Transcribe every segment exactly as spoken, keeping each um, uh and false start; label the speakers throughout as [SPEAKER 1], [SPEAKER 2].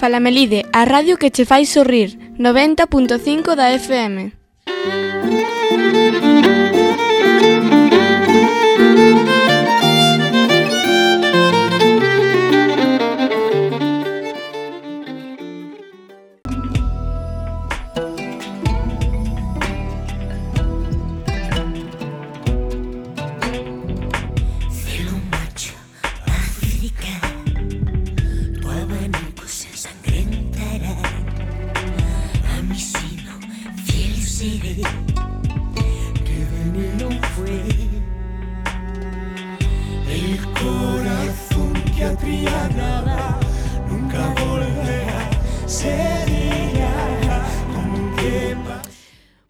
[SPEAKER 1] Falamelide, a radio que che fai sorrir, noventa punto cinco da F M.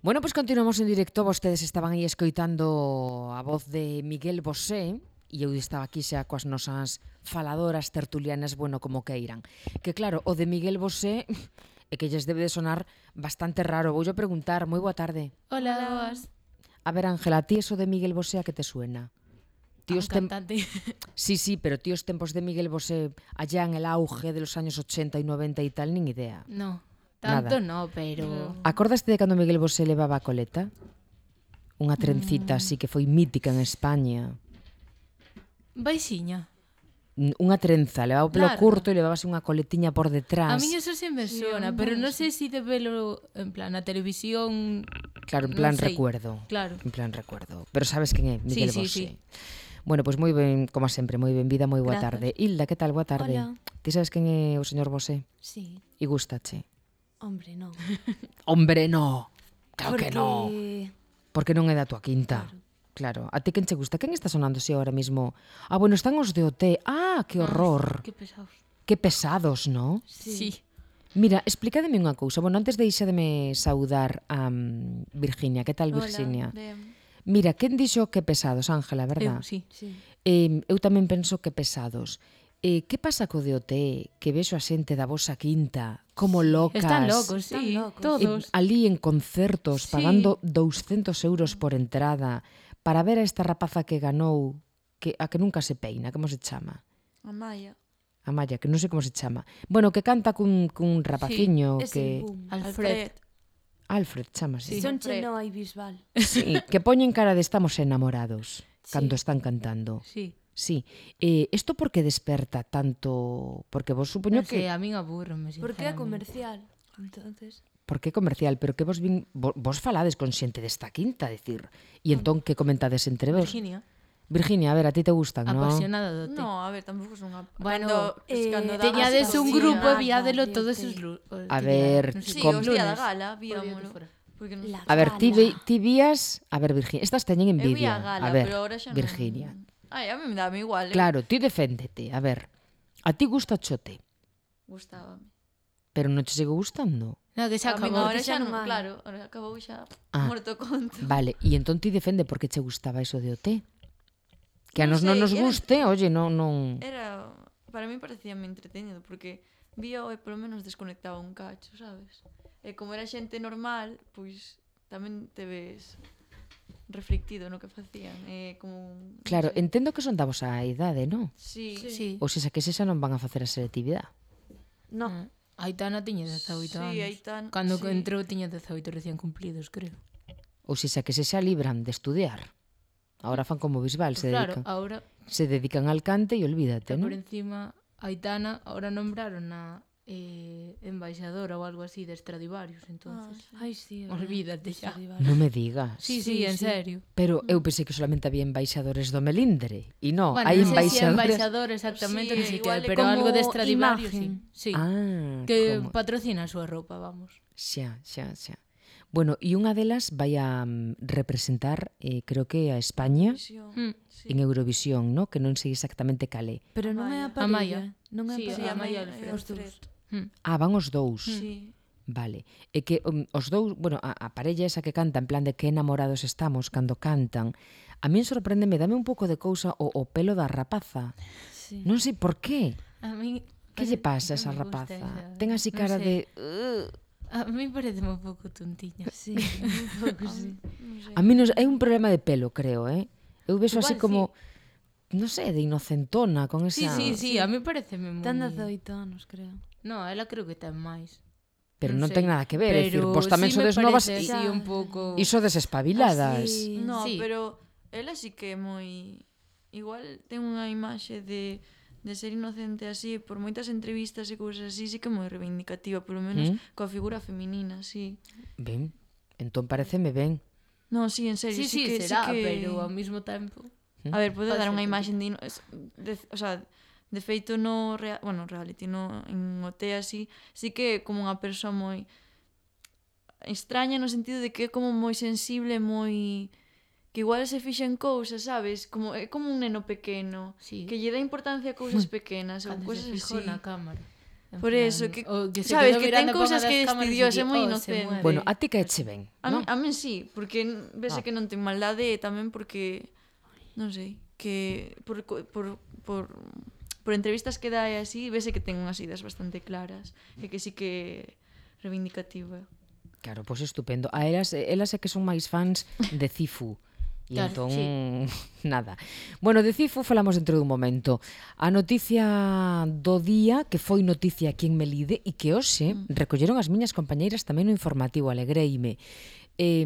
[SPEAKER 2] Bueno, pois pues continuamos en directo. Vostedes estaban aí escoitando a voz de Miguel Bosé e eu estaba aquí xa coas nosas faladoras tertulianas, bueno, como queiran. Que claro, o de Miguel Bosé é que lles debe de sonar bastante raro. Voulle preguntar, moi boa tarde.
[SPEAKER 3] Hola, boas.
[SPEAKER 2] A ver, Ángela, ti eso de Miguel Bosé a que te suena?
[SPEAKER 3] Tíos tem... cantante.
[SPEAKER 2] Sí, sí, pero tíos tempos de Miguel Bosé allá en el auge de los años ochenta y noventa y tal, nin idea.
[SPEAKER 3] No. Tanto no, pero...
[SPEAKER 2] Acordaste de cando Miguel Bosé levaba a coleta? Unha trencita mm. así que foi mítica en España.
[SPEAKER 3] Baixiña.
[SPEAKER 2] Unha trenza, levaba o pelo claro. curto e levabase unha coletiña por detrás.
[SPEAKER 3] A mí eso se me suena, sí, pero non sei se de velo en plan na televisión.
[SPEAKER 2] Claro, en plan no recuerdo.
[SPEAKER 3] Claro.
[SPEAKER 2] En plan recuerdo. Pero sabes quen é Miguel
[SPEAKER 3] sí,
[SPEAKER 2] Bosé.
[SPEAKER 3] Sí, sí.
[SPEAKER 2] Bueno, pois moi ben, como sempre, moi benvida, moi boa
[SPEAKER 3] Gracias.
[SPEAKER 2] tarde. Hilda, que tal? Boa tarde.
[SPEAKER 4] Hola.
[SPEAKER 2] Ti sabes quen é o señor Bosé?
[SPEAKER 4] Sí.
[SPEAKER 2] E gustache?
[SPEAKER 4] Hombre, non.
[SPEAKER 2] Hombre, no. Claro
[SPEAKER 4] Porque...
[SPEAKER 2] que no. Porque non é da tua quinta.
[SPEAKER 4] Claro.
[SPEAKER 2] Claro. A ti quen che gusta? Quen está sonando así ahora mismo? Ah, bueno, están os de O T. Ah, que horror.
[SPEAKER 3] Ah, que pesados.
[SPEAKER 2] Que pesados, ¿no?
[SPEAKER 3] Sí. sí.
[SPEAKER 2] Mira, explícademe unha cousa. Bueno, antes deixademe saudar a um, Virginia. Que tal, Virginia?
[SPEAKER 4] Hola,
[SPEAKER 2] Mira, quen dixo que pesados, Ángela, verdad?
[SPEAKER 3] Eu, sí.
[SPEAKER 4] sí.
[SPEAKER 2] Eh, eu tamén penso que pesados. Eh, que pasa co de O T? Que vexo a xente da vosa quinta como locas.
[SPEAKER 3] Están locos, sí,
[SPEAKER 4] Están locos.
[SPEAKER 3] todos.
[SPEAKER 2] Eh, ali en concertos,
[SPEAKER 3] Sí.
[SPEAKER 2] pagando douscentos euros por entrada para ver a esta rapaza que ganou, que a que nunca se peina, como se chama?
[SPEAKER 4] Amaya.
[SPEAKER 2] Amaya, que non sei como se chama. Bueno, que canta cun, cun rapaciño
[SPEAKER 4] Sí,
[SPEAKER 2] que...
[SPEAKER 4] boom.
[SPEAKER 3] Alfred.
[SPEAKER 2] Alfred, chamase.
[SPEAKER 4] Sí. Son cheno e bisbal.
[SPEAKER 2] Sí, que poñen cara de estamos enamorados
[SPEAKER 4] Sí.
[SPEAKER 2] cando están cantando.
[SPEAKER 3] Sí.
[SPEAKER 2] Sí. Eh, isto por que desperta tanto? Porque vos supoño
[SPEAKER 3] No
[SPEAKER 2] que...
[SPEAKER 3] sé, a min aburrome,
[SPEAKER 4] Porque é
[SPEAKER 3] sinceramente.
[SPEAKER 4] comercial. Entonces...
[SPEAKER 2] Por que comercial? Pero que vos vin... Vos, vos falades con xente desta quinta, decir. E entón, que comentades entre vos?
[SPEAKER 3] Virginia.
[SPEAKER 2] Virginia, a ver, a ti te gustan, non?
[SPEAKER 3] Apasionada do té.
[SPEAKER 5] No, a ver, tampouco son unha...
[SPEAKER 3] Bueno,
[SPEAKER 4] eh,
[SPEAKER 5] cando
[SPEAKER 3] teñades un
[SPEAKER 4] sí,
[SPEAKER 3] grupo e
[SPEAKER 4] ah,
[SPEAKER 3] viádelo
[SPEAKER 4] vale,
[SPEAKER 3] todos
[SPEAKER 4] ok.
[SPEAKER 3] os lu- os
[SPEAKER 2] A
[SPEAKER 3] que
[SPEAKER 2] ver,
[SPEAKER 3] día- non sei,
[SPEAKER 5] Sí,
[SPEAKER 2] com-
[SPEAKER 5] o día da
[SPEAKER 3] lunes.
[SPEAKER 5] gala,
[SPEAKER 3] O día de
[SPEAKER 5] víamolo.
[SPEAKER 3] fora.
[SPEAKER 5] Porque non
[SPEAKER 4] La
[SPEAKER 2] A ver, ti,
[SPEAKER 4] gala.
[SPEAKER 2] vi, ti vías... A ver, Virginia, estas teñen
[SPEAKER 5] Eu vi
[SPEAKER 2] envidia.
[SPEAKER 5] a gala,
[SPEAKER 2] a ver,
[SPEAKER 5] pero ahora xa non...
[SPEAKER 2] Virginia.
[SPEAKER 5] Ai, a mí me dame igual, eh?
[SPEAKER 2] Claro, ti deféndete. A ver, a ti gusta chote,
[SPEAKER 5] Gustábame.
[SPEAKER 2] pero non te sigo gustando.
[SPEAKER 3] No, que xa
[SPEAKER 5] A min
[SPEAKER 3] acabou.
[SPEAKER 5] ahora
[SPEAKER 4] que
[SPEAKER 5] xa
[SPEAKER 4] xa
[SPEAKER 5] non,
[SPEAKER 4] non hai.
[SPEAKER 5] claro, ahora acabou xa
[SPEAKER 2] Ah.
[SPEAKER 5] morto conto.
[SPEAKER 2] Vale, e entón ti defende por que che gustaba eso de O T. Que a
[SPEAKER 5] Non
[SPEAKER 2] nos non
[SPEAKER 5] sei,
[SPEAKER 2] nos
[SPEAKER 5] era-
[SPEAKER 2] guste, oye, non... non...
[SPEAKER 5] Era... Para mí parecía moi entretenido, porque vío e polo menos desconectaba un cacho, sabes? E como era xente normal, pois tamén te ves reflectido no que facían. É como... non
[SPEAKER 2] Claro,
[SPEAKER 5] sei.
[SPEAKER 2] entendo que son da vosa idade, non?
[SPEAKER 5] Sí, sí.
[SPEAKER 3] Sí.
[SPEAKER 2] Ou se xa que se xa non van a facer a selectividade.
[SPEAKER 4] No.
[SPEAKER 3] Ah, Aitana tiña dezaoito
[SPEAKER 5] Sí,
[SPEAKER 3] anos.
[SPEAKER 5] Aitana,
[SPEAKER 3] Cando
[SPEAKER 5] sí.
[SPEAKER 3] entrou tiña dezaoito recién cumplidos, creo.
[SPEAKER 2] Ou se xa que se xa libran de estudiar. Ahora fan como Bisbal, se
[SPEAKER 3] Pues claro,
[SPEAKER 2] dedican,
[SPEAKER 3] ahora,
[SPEAKER 2] se dedican al cante e olvídate,
[SPEAKER 3] por
[SPEAKER 2] non?
[SPEAKER 3] encima, Aitana ahora nombraron a eh, embaixadora ou algo así de Stradivarius, entonces.
[SPEAKER 4] Ai, sí. é
[SPEAKER 3] Olvídate
[SPEAKER 4] verdad.
[SPEAKER 3] xa.
[SPEAKER 4] Stradivarius.
[SPEAKER 2] Non me digas.
[SPEAKER 3] Sí, sí,
[SPEAKER 4] Sí,
[SPEAKER 3] en
[SPEAKER 4] sí.
[SPEAKER 3] serio.
[SPEAKER 2] Pero eu pensei que solamente había embaixadores do Melindre. E non,
[SPEAKER 3] Bueno,
[SPEAKER 2] hai
[SPEAKER 3] non sei se é
[SPEAKER 2] embaixadores...
[SPEAKER 3] embaixador exactamente,
[SPEAKER 5] Sí,
[SPEAKER 3] non sei que
[SPEAKER 5] igual
[SPEAKER 3] hai,
[SPEAKER 5] é
[SPEAKER 3] pero
[SPEAKER 4] como
[SPEAKER 3] algo de Stradivarius, sí.
[SPEAKER 4] imagen.
[SPEAKER 3] Sí.
[SPEAKER 2] Ah,
[SPEAKER 3] Que
[SPEAKER 2] como...
[SPEAKER 3] patrocina a súa roupa, vamos.
[SPEAKER 2] Xa, xa, xa. Bueno, e unha delas vai a mm, representar, eh, creo que a España
[SPEAKER 5] Visión.
[SPEAKER 3] Mm.
[SPEAKER 5] Sí.
[SPEAKER 2] en Eurovisión, ¿no? Que non sei exactamente cale.
[SPEAKER 4] Pero non é a
[SPEAKER 3] Amaya.
[SPEAKER 4] parella. Non é a
[SPEAKER 3] Sí,
[SPEAKER 5] Sí,
[SPEAKER 4] parella.
[SPEAKER 5] a
[SPEAKER 3] Amaya
[SPEAKER 5] Maya
[SPEAKER 3] Alfred.
[SPEAKER 5] e
[SPEAKER 4] Os dous.
[SPEAKER 5] Alfred.
[SPEAKER 3] Mm.
[SPEAKER 2] Ah, van os dous.
[SPEAKER 5] Sí.
[SPEAKER 2] Vale. E que um, os dous, bueno, a, a parella esa que canta en plan de que enamorados estamos cando cantan, a min sorpréndeme, dame un pouco de cousa o, o pelo da rapaza.
[SPEAKER 4] Sí.
[SPEAKER 2] Non sei por qué.
[SPEAKER 3] A mí
[SPEAKER 2] Que lle pasa a
[SPEAKER 3] non
[SPEAKER 2] esa
[SPEAKER 3] me gusta
[SPEAKER 2] rapaza?
[SPEAKER 3] esa-
[SPEAKER 2] Ten así
[SPEAKER 3] non
[SPEAKER 2] cara
[SPEAKER 3] sei.
[SPEAKER 2] de... "Ugh".
[SPEAKER 3] A mí parece un pouco tontiña.
[SPEAKER 4] Sí, un pouco sí.
[SPEAKER 5] Non sei.
[SPEAKER 2] A mí non, é un problema de pelo, creo, eh? Eu vexo así
[SPEAKER 3] Igual
[SPEAKER 2] como... non sei, de inocentona, con
[SPEAKER 3] Sí,
[SPEAKER 2] esa...
[SPEAKER 3] sí, sí, a mí pareceme moi...
[SPEAKER 4] Ten dezaoito anos, creo.
[SPEAKER 3] No, ela creo que ten máis.
[SPEAKER 2] Pero non
[SPEAKER 3] sei,
[SPEAKER 2] ten nada que ver, é dicir,
[SPEAKER 3] pero
[SPEAKER 2] vos tamén
[SPEAKER 3] sí me
[SPEAKER 2] sodes novas
[SPEAKER 3] parece
[SPEAKER 2] e
[SPEAKER 3] así
[SPEAKER 4] Ya,
[SPEAKER 3] un
[SPEAKER 4] ya,
[SPEAKER 3] pouco...
[SPEAKER 2] iso desespabiladas.
[SPEAKER 4] Así,
[SPEAKER 5] No,
[SPEAKER 3] Sí.
[SPEAKER 5] pero ela sí que é moi... Igual ten unha imaxe de, de ser inocente así, por moitas entrevistas e cousas así, sí que é moi reivindicativa, polo menos
[SPEAKER 2] Mm.
[SPEAKER 5] coa figura feminina, sí.
[SPEAKER 2] Ben, entón pareceme ben.
[SPEAKER 5] No, sí, en serio,
[SPEAKER 3] Sí,
[SPEAKER 5] sí,
[SPEAKER 3] sí,
[SPEAKER 5] que...
[SPEAKER 3] será,
[SPEAKER 5] sí que...
[SPEAKER 3] pero ao mesmo tempo...
[SPEAKER 5] A ver, pode
[SPEAKER 3] Pode
[SPEAKER 5] dar
[SPEAKER 3] ser
[SPEAKER 5] unha
[SPEAKER 3] que-
[SPEAKER 5] imaxe de, ino- es- de... O sea, de feito no... Rea, bueno, reality, no, en O T así, sí que é como unha persoa moi... extraña no sentido de que é como moi sensible, moi... que igual se fixen cousas, sabes? Como, é como un neno pequeno,
[SPEAKER 3] Sí.
[SPEAKER 5] que lle dá importancia a cousas pequenas ou
[SPEAKER 3] Cando
[SPEAKER 5] cousas
[SPEAKER 3] se fijou
[SPEAKER 5] así.
[SPEAKER 3] na cámara. En
[SPEAKER 5] Por
[SPEAKER 3] plan,
[SPEAKER 5] eso, que-
[SPEAKER 3] o que se
[SPEAKER 5] sabes,
[SPEAKER 3] quedou
[SPEAKER 5] que ten
[SPEAKER 3] mirando pa
[SPEAKER 5] cousas
[SPEAKER 3] unha
[SPEAKER 5] que
[SPEAKER 3] das cámaras
[SPEAKER 5] estudiou,
[SPEAKER 3] e
[SPEAKER 5] é
[SPEAKER 3] di,
[SPEAKER 5] moi
[SPEAKER 3] "Oh, se
[SPEAKER 5] inocente".
[SPEAKER 3] mueve".
[SPEAKER 2] Bueno, a ti que eche ben,
[SPEAKER 5] A,
[SPEAKER 2] non?
[SPEAKER 5] mí, a mí sí, porque n- vese
[SPEAKER 2] Ah.
[SPEAKER 5] que non ten maldade e tamén porque, non sei, que por, co- por, por, por entrevistas que dá e así, vese que ten unhas ideas bastante claras e que sí que é reivindicativa.
[SPEAKER 2] Claro, pois estupendo. A elas, elas é que son máis fans de Cifu. E
[SPEAKER 3] Claro,
[SPEAKER 2] entón,
[SPEAKER 3] sí.
[SPEAKER 2] nada. Bueno, de Cifu falamos dentro dun momento. A noticia do día, que foi noticia aquí en Melide, e que hoxe mm. recolleron as miñas compañeiras tamén no informativo, alegreime. Eh,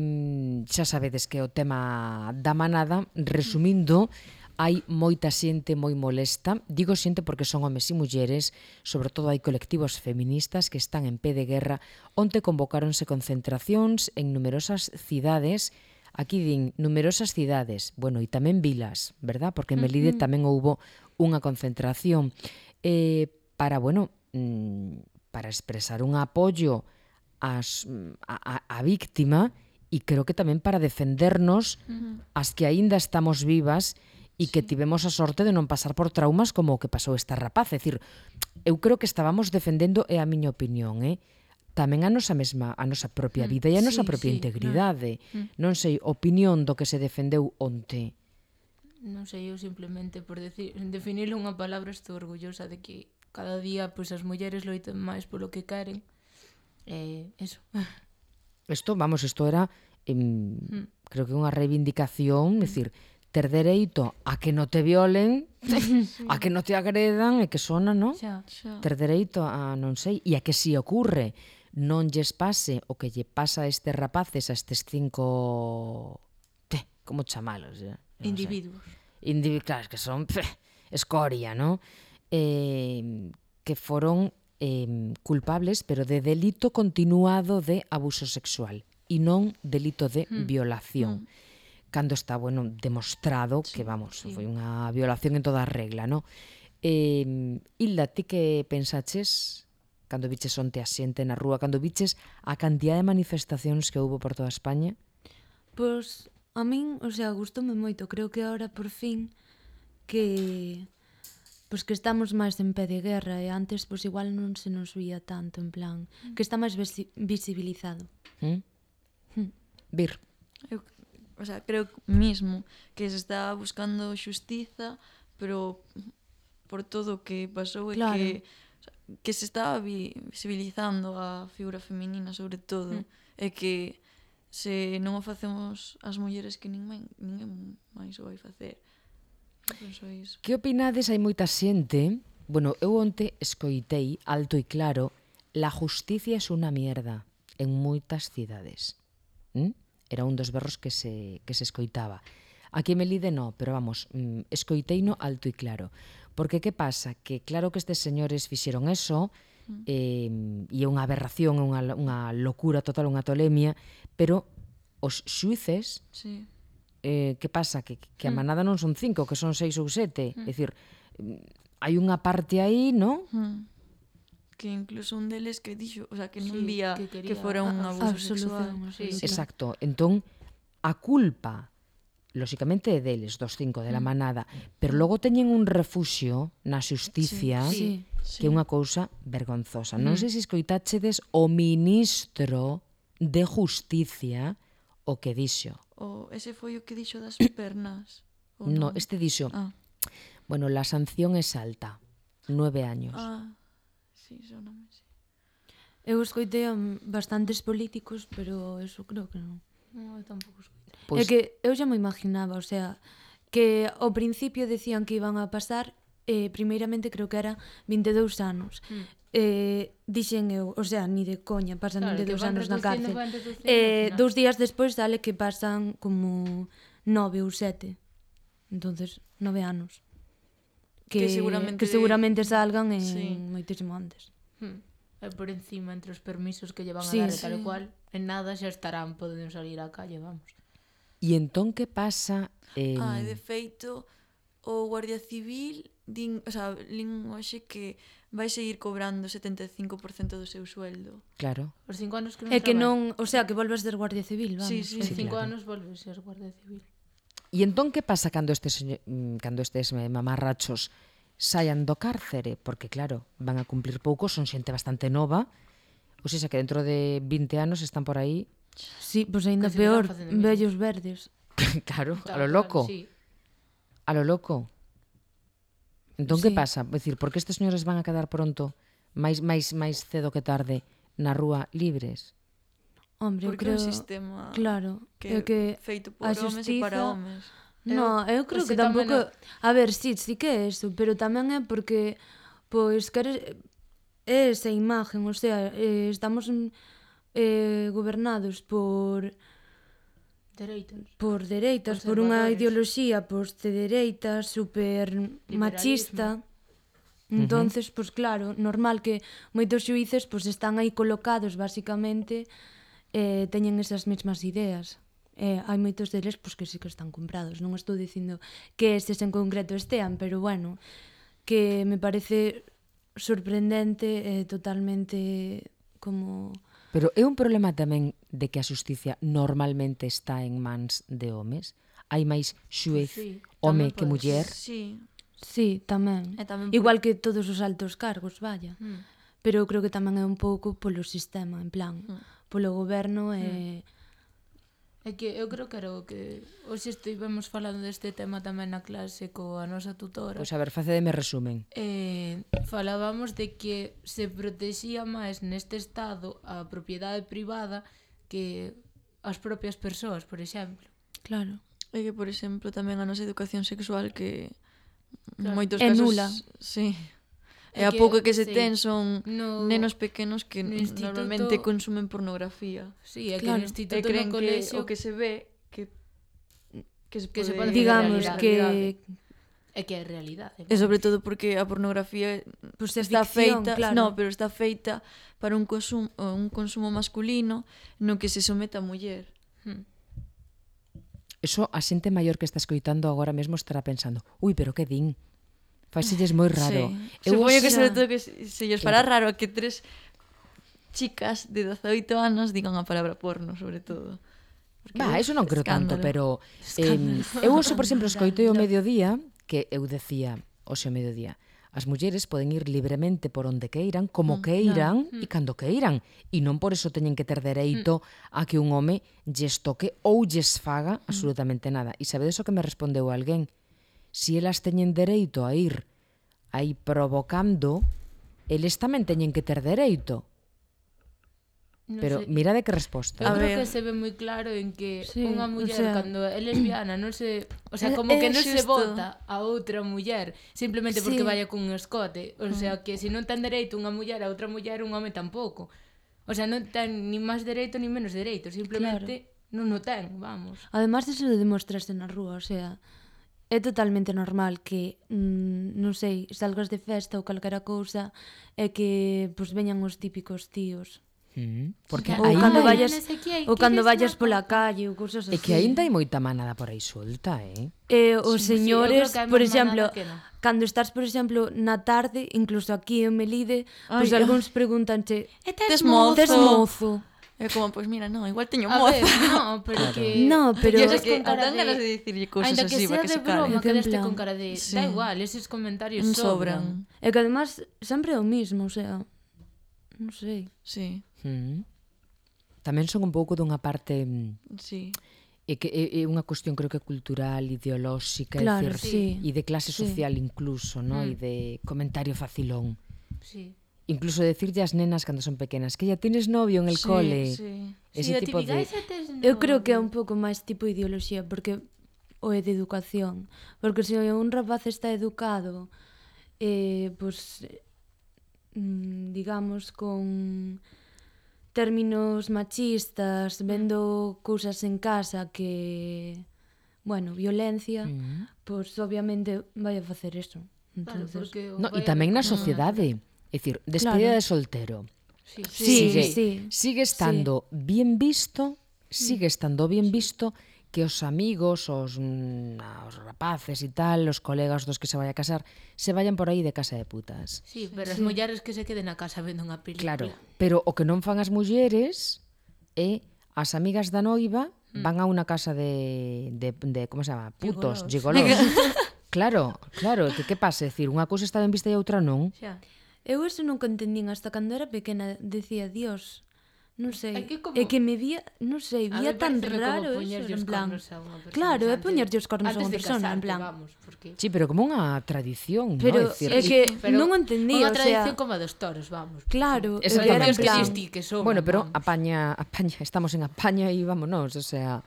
[SPEAKER 2] xa sabedes que o tema da manada, resumindo, hai moita xente moi molesta. Digo xente porque son homes e mulleres, sobre todo hai colectivos feministas que están en pé de guerra, onte convocáronse concentracións en numerosas cidades. Aquí din numerosas cidades, bueno, e tamén vilas, verdad? Porque en Melide tamén houbo unha concentración eh, para, bueno, mm, para expresar un apoio ás, a, a, a víctima e creo que tamén para defendernos as que aínda estamos vivas e que tivemos a sorte de non pasar por traumas como o que pasou esta rapaz. É dicir, eu creo que estábamos defendendo, é a miña opinión, eh? tamén a nosa mesma, a nosa propia vida e a nosa
[SPEAKER 3] sí,
[SPEAKER 2] propia
[SPEAKER 3] sí,
[SPEAKER 2] integridade. Non sei, opinión do que se defendeu onte.
[SPEAKER 3] Non sei, eu simplemente por decir, definirle unha palabra estou orgullosa de que cada día pois, as mulleres loiten máis polo que queren. Eh, eso.
[SPEAKER 2] Isto, vamos, isto era em, creo que unha reivindicación, é dicir, ter dereito a que non te violen, a que non te agredan e que sona, non?
[SPEAKER 3] Xa.
[SPEAKER 5] Xa.
[SPEAKER 2] Ter dereito a, non sei, e a que si ocurre non lles pase o que lle pasa a estes rapaces, a estes cinco... Te, como chamalos? Eh? Non sei.
[SPEAKER 3] Individuos.
[SPEAKER 2] Indivi claro, que son pff, escoria, ¿no? Eh, que foron eh, culpables, pero de delito continuado de abuso sexual e non delito de mm. violación. Mm. Cando está, bueno, demostrado sí, que, vamos, sí. foi unha violación en toda regla, ¿no? Eh, Hilda, ti que pensaches cando viches onte a xente na rúa, cando viches a cantidad de manifestacións que houbo por toda España?
[SPEAKER 4] Pois a min, o sea, gustoume moito. Creo que ahora por fin que pois que estamos máis en pé de guerra e antes pois igual non se nos vía tanto, en plan, que está máis visi- visibilizado.
[SPEAKER 2] ¿Mm?
[SPEAKER 4] Mm.
[SPEAKER 2] Vir.
[SPEAKER 5] Eu, o sea, creo mismo que se está buscando xustiza, pero por todo o que pasou e
[SPEAKER 4] Claro.
[SPEAKER 5] que o sea, que se está vi- visibilizando a figura feminina sobre todo
[SPEAKER 4] Mm.
[SPEAKER 5] e que se non o facemos as mulleres que ninguén, ninguén máis o vai facer. Eu penso iso.
[SPEAKER 2] Que opinades? Hai moita xente... Bueno, eu onte escoitei alto e claro la justicia es una mierda en moitas cidades. ¿Mm? Era un dos berros que se, que se escoitaba. Aquí en Melide no, pero vamos, mm, escoiteino alto e claro. Porque que pasa? Que claro que estes señores fixeron eso, eh, e é unha aberración, unha, unha locura total, unha tolemia, pero os xuíces...
[SPEAKER 5] Sí.
[SPEAKER 2] Eh, que pasa? Que, que a manada non son cinco, que son seis ou sete. É dicir, hai unha parte aí, non?
[SPEAKER 5] Hmm. Que incluso un deles que dixo, o sea, que non
[SPEAKER 3] Sí,
[SPEAKER 5] vía
[SPEAKER 3] que
[SPEAKER 5] que,
[SPEAKER 3] quería
[SPEAKER 5] fora un
[SPEAKER 3] a-
[SPEAKER 5] abuso
[SPEAKER 4] absolución,
[SPEAKER 5] sexual.
[SPEAKER 3] Sí,
[SPEAKER 4] absolución.
[SPEAKER 2] Exacto. Entón, a culpa, lóxicamente, é deles, dos cinco, de la manada, pero logo teñen un refuxio na xusticia,
[SPEAKER 4] Sí.
[SPEAKER 2] que é unha cousa vergonzosa. Non sei se escoitáchedes o ministro de Justicia o que dixo.
[SPEAKER 5] O ese foi o que dixo das pernas. ou
[SPEAKER 2] No,
[SPEAKER 5] non?
[SPEAKER 2] este dixo,
[SPEAKER 5] Ah,
[SPEAKER 2] bueno, la sanción es alta, nueve años.
[SPEAKER 5] ah, sí, soname, sí.
[SPEAKER 4] Eu escoitei a bastantes políticos, pero eso creo que non.
[SPEAKER 3] No, eu tampouco escoito.
[SPEAKER 4] Pois... É que eu xa me imaginaba, o sea, que ao principio decían que iban a pasar, eh, primeiramente creo que era vinte e dous anos.
[SPEAKER 3] Mm.
[SPEAKER 4] Eh, dixen eu, o sea, ni de coña, pasan
[SPEAKER 3] Claro,
[SPEAKER 4] vinte e dous
[SPEAKER 3] que van
[SPEAKER 4] anos na
[SPEAKER 3] reducindo,
[SPEAKER 4] cárcel.
[SPEAKER 3] van reducindo,
[SPEAKER 4] Eh,
[SPEAKER 3] ao final.
[SPEAKER 4] dous días despois sale que pasan como nove ou sete. Entonces, nove anos. Que,
[SPEAKER 5] Que seguramente
[SPEAKER 4] que
[SPEAKER 5] de-
[SPEAKER 4] seguramente salgan en
[SPEAKER 5] Sí.
[SPEAKER 4] moitísimo antes.
[SPEAKER 3] Hmm. E por encima, entre os permisos que lle van a
[SPEAKER 4] Sí,
[SPEAKER 3] dar e tal
[SPEAKER 5] sí.
[SPEAKER 3] e cual, en nada xa estarán, poden salir á calle, vamos.
[SPEAKER 2] E entón que pasa? Eh,
[SPEAKER 5] Ah, e de feito, o Guardia Civil din, o sea, lin hoxe que vai seguir cobrando o setenta e cinco por cento do seu sueldo.
[SPEAKER 2] Claro.
[SPEAKER 3] Os cinco anos que non
[SPEAKER 4] É que
[SPEAKER 3] traballan.
[SPEAKER 4] non, o sea, que volvas ser Guardia Civil, vamos.
[SPEAKER 5] Sí, sí,
[SPEAKER 3] Os
[SPEAKER 2] Sí,
[SPEAKER 3] cinco
[SPEAKER 2] claro.
[SPEAKER 3] anos volves a ser Guardia Civil.
[SPEAKER 2] E entón que pasa cando estes seño- mm, cando estes eh, mamarrachos saian do cárcere? Porque claro, van a cumplir pouco, son xente bastante nova. Ou seja, que dentro de vinte anos están por aí,
[SPEAKER 4] Sí, pois pues aínda
[SPEAKER 3] Que seguirán
[SPEAKER 4] peor,
[SPEAKER 3] facendo mismo.
[SPEAKER 4] vellos verdes.
[SPEAKER 2] claro, a
[SPEAKER 3] Tal
[SPEAKER 2] lo
[SPEAKER 3] cual,
[SPEAKER 2] loco.
[SPEAKER 3] Sí.
[SPEAKER 2] A lo loco. Entón que
[SPEAKER 4] Sí.
[SPEAKER 2] pasa? É dicir, por que estes señores van a quedar pronto, máis máis máis cedo que tarde, na rúa libres?
[SPEAKER 4] Hombre, eu
[SPEAKER 5] Porque
[SPEAKER 4] creo...
[SPEAKER 5] é un sistema
[SPEAKER 4] Claro,
[SPEAKER 5] que,
[SPEAKER 4] é que
[SPEAKER 5] feito por
[SPEAKER 4] a
[SPEAKER 5] homes e para
[SPEAKER 4] xustiza-
[SPEAKER 5] homes.
[SPEAKER 4] No, eu creo
[SPEAKER 3] pois
[SPEAKER 4] que
[SPEAKER 3] que tamén
[SPEAKER 4] tampouco... A ver, sí, sí que é eso, pero tamén é porque, pois, queres... É esa imagen, o sea, eh, estamos eh, gobernados por
[SPEAKER 3] Dereitos.
[SPEAKER 4] por dereitas, por unha
[SPEAKER 3] Conservadores.
[SPEAKER 4] ideoloxía pois, de dereitas, super machista. Entonces, pois claro, normal que moitos xuíces pois, están aí colocados, basicamente, eh, teñen esas mesmas ideas. Eh, hai moitos deles pois, que sí que están comprados. Non estou dicindo que estes en concreto estean, pero bueno, que me parece sorprendente e eh, totalmente como...
[SPEAKER 2] Pero é un problema tamén de que a xusticia normalmente está en mans de homes? Hai máis xuez
[SPEAKER 3] Pois sí,
[SPEAKER 2] home
[SPEAKER 3] tamén
[SPEAKER 2] que
[SPEAKER 3] pode
[SPEAKER 2] muller?
[SPEAKER 5] Sí,
[SPEAKER 4] Sí, tamén.
[SPEAKER 5] E tamén por-
[SPEAKER 4] Igual que todos os altos cargos, vaya.
[SPEAKER 3] Mm.
[SPEAKER 4] Pero eu creo que tamén é un pouco polo sistema, en plan, polo goberno e...
[SPEAKER 3] É que eu creo que era o que hoxe estivemos falando deste tema tamén na clase coa nosa tutora.
[SPEAKER 2] Pois a ver, facedeme resumen.
[SPEAKER 3] Eh, falábamos de que se protexía máis neste estado a propiedade privada que as propias persoas, por exemplo.
[SPEAKER 4] Claro.
[SPEAKER 5] é que, por exemplo, tamén a nosa educación sexual que en
[SPEAKER 3] Claro.
[SPEAKER 5] moitos
[SPEAKER 4] É
[SPEAKER 5] casos...
[SPEAKER 4] nula.
[SPEAKER 5] Sí.
[SPEAKER 3] É
[SPEAKER 5] E a
[SPEAKER 3] que,
[SPEAKER 5] pouco que se
[SPEAKER 3] sí,
[SPEAKER 5] ten son
[SPEAKER 3] no-
[SPEAKER 5] nenos pequenos que
[SPEAKER 3] no instituto-
[SPEAKER 5] normalmente consumen pornografía.
[SPEAKER 3] Sí, é que
[SPEAKER 4] Claro.
[SPEAKER 3] no
[SPEAKER 5] E
[SPEAKER 3] instituto
[SPEAKER 5] creen
[SPEAKER 3] no
[SPEAKER 5] que
[SPEAKER 3] colexio
[SPEAKER 5] o que se ve que que se
[SPEAKER 3] Que se
[SPEAKER 5] pode...
[SPEAKER 3] pode
[SPEAKER 4] Digamos
[SPEAKER 3] realidade,
[SPEAKER 4] que...
[SPEAKER 3] é que é realidade.
[SPEAKER 5] E sobre todo porque a pornografía
[SPEAKER 4] Pois é
[SPEAKER 5] está
[SPEAKER 4] ficción,
[SPEAKER 5] feita,
[SPEAKER 4] claro.
[SPEAKER 5] no, pero está feita para un consumo, un consumo masculino no que se somete a muller.
[SPEAKER 3] Hmm.
[SPEAKER 2] Eso a xente maior que está escoitando agora mesmo estará pensando, ui, pero que din? Faiselles moi raro.
[SPEAKER 5] Sí. Supoño que
[SPEAKER 4] xa-
[SPEAKER 5] sobre todo que se, se lles fará raro a que tres chicas de dezaoito anos digan a palabra porno, sobre todo. Porque,
[SPEAKER 2] Va, eso non creo tanto,
[SPEAKER 5] escándalo.
[SPEAKER 2] pero eh, eu hoxe, por exemplo, escoitei o mediodía que eu decía, hoxe o mediodía, as mulleres poden ir libremente por onde queiran, como queiran e cando queiran, e non por eso teñen que ter dereito a que un home lles toque ou lles faga absolutamente nada. E sabedes o que me respondeu alguén? Si elas teñen dereito a ir aí provocando, eles tamén teñen que ter dereito.
[SPEAKER 3] Non
[SPEAKER 2] Pero
[SPEAKER 3] sei.
[SPEAKER 2] mira de que resposta.
[SPEAKER 3] Eu
[SPEAKER 5] A
[SPEAKER 3] creo
[SPEAKER 5] ver.
[SPEAKER 3] que se ve moi claro en que
[SPEAKER 4] Sí,
[SPEAKER 3] unha
[SPEAKER 4] o
[SPEAKER 3] muller
[SPEAKER 4] sea-
[SPEAKER 3] cando é lesbiana non se, o sea,
[SPEAKER 5] É-
[SPEAKER 3] como que
[SPEAKER 5] é
[SPEAKER 3] non se
[SPEAKER 5] xusto.
[SPEAKER 3] vota a outra muller simplemente porque
[SPEAKER 4] Sí.
[SPEAKER 3] vaya cun escote, o sea, que se non ten dereito unha muller a outra muller, un home tampouco. O sea, non ten ni máis dereito ni menos dereito, simplemente non o ten, vamos.
[SPEAKER 4] Además, eso de demostrarse na rúa, o sea, é totalmente normal que, mm, non sei, salgas de festa ou calquera cousa e que pois veñan os típicos tíos.
[SPEAKER 2] Mm, porque
[SPEAKER 4] Ou
[SPEAKER 2] aí
[SPEAKER 4] cando
[SPEAKER 3] Ai,
[SPEAKER 4] vayas
[SPEAKER 3] non sei que,
[SPEAKER 4] ou cando
[SPEAKER 3] queres
[SPEAKER 4] vayas
[SPEAKER 3] unha
[SPEAKER 4] pola
[SPEAKER 3] copa?
[SPEAKER 4] calle ou cousas así.
[SPEAKER 2] é que aínda hai moita manada por aí solta, eh?
[SPEAKER 4] Eh, os
[SPEAKER 3] Sí, sí,
[SPEAKER 4] señores,
[SPEAKER 3] eu creo que hai
[SPEAKER 4] por
[SPEAKER 3] máis
[SPEAKER 4] exemplo,
[SPEAKER 3] manada que non.
[SPEAKER 4] cando estás, por exemplo, na tarde, incluso aquí en Melide, pois
[SPEAKER 5] Ai,
[SPEAKER 4] algúns pregúntanche,
[SPEAKER 3] E
[SPEAKER 5] tes mozo?
[SPEAKER 4] tes mozo?
[SPEAKER 5] É como, pois mira, non, igual teño
[SPEAKER 3] A
[SPEAKER 5] moza.
[SPEAKER 3] ver, no, pero que...
[SPEAKER 4] No, pero-
[SPEAKER 5] E
[SPEAKER 3] Eses
[SPEAKER 5] é que
[SPEAKER 3] con cara
[SPEAKER 5] dan ganas de dicirlle cousas
[SPEAKER 3] Ainda que
[SPEAKER 5] así
[SPEAKER 3] sea
[SPEAKER 5] para que
[SPEAKER 3] de
[SPEAKER 5] se calen.
[SPEAKER 3] broma,
[SPEAKER 4] Que
[SPEAKER 3] que
[SPEAKER 4] en
[SPEAKER 3] deste
[SPEAKER 4] plan-
[SPEAKER 3] con cara de...
[SPEAKER 5] Sí.
[SPEAKER 3] Da igual, eses comentarios
[SPEAKER 5] Non
[SPEAKER 3] sobran.
[SPEAKER 5] sobran.
[SPEAKER 4] E que además sempre é o mismo, o sea, non sei.
[SPEAKER 5] Sí,
[SPEAKER 2] Mm. Tamén son un pouco dunha parte mm,
[SPEAKER 5] sí.
[SPEAKER 2] é que é, é unha cuestión creo que cultural, ideolóxica,
[SPEAKER 4] Claro,
[SPEAKER 2] é
[SPEAKER 4] sí.
[SPEAKER 2] e de clase
[SPEAKER 4] Sí.
[SPEAKER 2] social incluso, ¿no?
[SPEAKER 3] Mm.
[SPEAKER 2] E de comentario facilón.
[SPEAKER 3] Sí.
[SPEAKER 2] Incluso decirlle ás nenas cando son pequenas que ya tienes novio en el
[SPEAKER 5] Sí,
[SPEAKER 2] cole.
[SPEAKER 5] sí.
[SPEAKER 2] Ese
[SPEAKER 3] Sí, a
[SPEAKER 2] tipo
[SPEAKER 3] típica,
[SPEAKER 2] de
[SPEAKER 3] "Esa tes
[SPEAKER 4] Eu creo que é
[SPEAKER 3] novio".
[SPEAKER 4] un pouco máis tipo ideoloxía, porque o é de educación. Porque se un rapaz está educado, eh, pues, mm, digamos, con términos machistas, vendo cousas en casa que, bueno, violencia,
[SPEAKER 2] Mm.
[SPEAKER 4] pois pues, obviamente vai a facer eso.
[SPEAKER 3] Claro,
[SPEAKER 4] Entonces,
[SPEAKER 3] porque
[SPEAKER 2] No, e
[SPEAKER 3] vai a
[SPEAKER 2] tamén na
[SPEAKER 3] ver como-
[SPEAKER 2] sociedade. É dicir, despedida
[SPEAKER 4] Claro.
[SPEAKER 2] de soltero.
[SPEAKER 3] Sí,
[SPEAKER 4] Sí,
[SPEAKER 2] sigue,
[SPEAKER 4] sí,
[SPEAKER 2] sigue estando bien visto, sigue estando bien visto que os amigos, os, mm, os rapaces e tal, os colegas dos que se vai a casar, se vayan por aí de casa de putas.
[SPEAKER 3] Sí, pero as mulleres que se queden na casa vendo unha película.
[SPEAKER 2] Claro, pero o que non fan as mulleres é as amigas da noiva van a unha casa de, de, de como se chama? Putos, gigolos. Claro, claro, que que pasa? É dicir, unha cousa está ben vista e a outra non.
[SPEAKER 3] Xa.
[SPEAKER 4] eu eso nunca entendín hasta cando era pequena, decía, Dios, non sei,
[SPEAKER 3] É que como-
[SPEAKER 4] é que me vía, non sei,
[SPEAKER 3] A
[SPEAKER 4] vía
[SPEAKER 3] mí
[SPEAKER 4] tan
[SPEAKER 3] paréceme como
[SPEAKER 4] raro eso,
[SPEAKER 3] poñerlle os
[SPEAKER 4] en plan.
[SPEAKER 3] cornos a unha persona
[SPEAKER 4] Claro, é
[SPEAKER 3] antes-
[SPEAKER 4] poñerlle os cornos a
[SPEAKER 3] antes
[SPEAKER 4] unha
[SPEAKER 3] de
[SPEAKER 4] persona, en
[SPEAKER 3] casarte,
[SPEAKER 4] plan.
[SPEAKER 3] Vamos, porque...
[SPEAKER 2] Sí, pero como unha tradición,
[SPEAKER 4] Pero
[SPEAKER 2] ¿no? É dicir,
[SPEAKER 4] é que
[SPEAKER 3] Pero
[SPEAKER 4] non o entendí,
[SPEAKER 3] unha
[SPEAKER 4] o
[SPEAKER 3] tradición
[SPEAKER 4] sea,
[SPEAKER 3] como a dos toros, vamos.
[SPEAKER 4] claro, é que
[SPEAKER 2] Exactamente.
[SPEAKER 4] era en
[SPEAKER 3] Os que
[SPEAKER 4] plan,
[SPEAKER 3] existí que son.
[SPEAKER 2] Bueno, pero
[SPEAKER 3] vamos.
[SPEAKER 2] apaña, apaña, estamos en apaña e vámonos, o sea,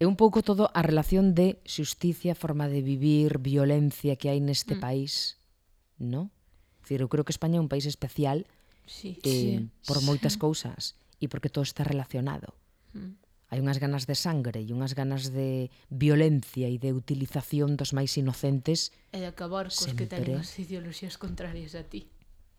[SPEAKER 2] é un pouco todo a relación de xusticia, forma de vivir, violencia que hai neste
[SPEAKER 3] Mm.
[SPEAKER 2] país, ¿no? É dicir, eu creo que España é un país especial
[SPEAKER 3] Sí.
[SPEAKER 2] eh,
[SPEAKER 4] Sí.
[SPEAKER 2] por moitas cousas e porque todo está relacionado.
[SPEAKER 3] Mm.
[SPEAKER 2] Hai unhas ganas de sangre e unhas ganas de violencia e de utilización dos máis inocentes.
[SPEAKER 3] E de acabar cos que
[SPEAKER 2] Sempre.
[SPEAKER 3] teñen as ideoloxías contrarias a ti.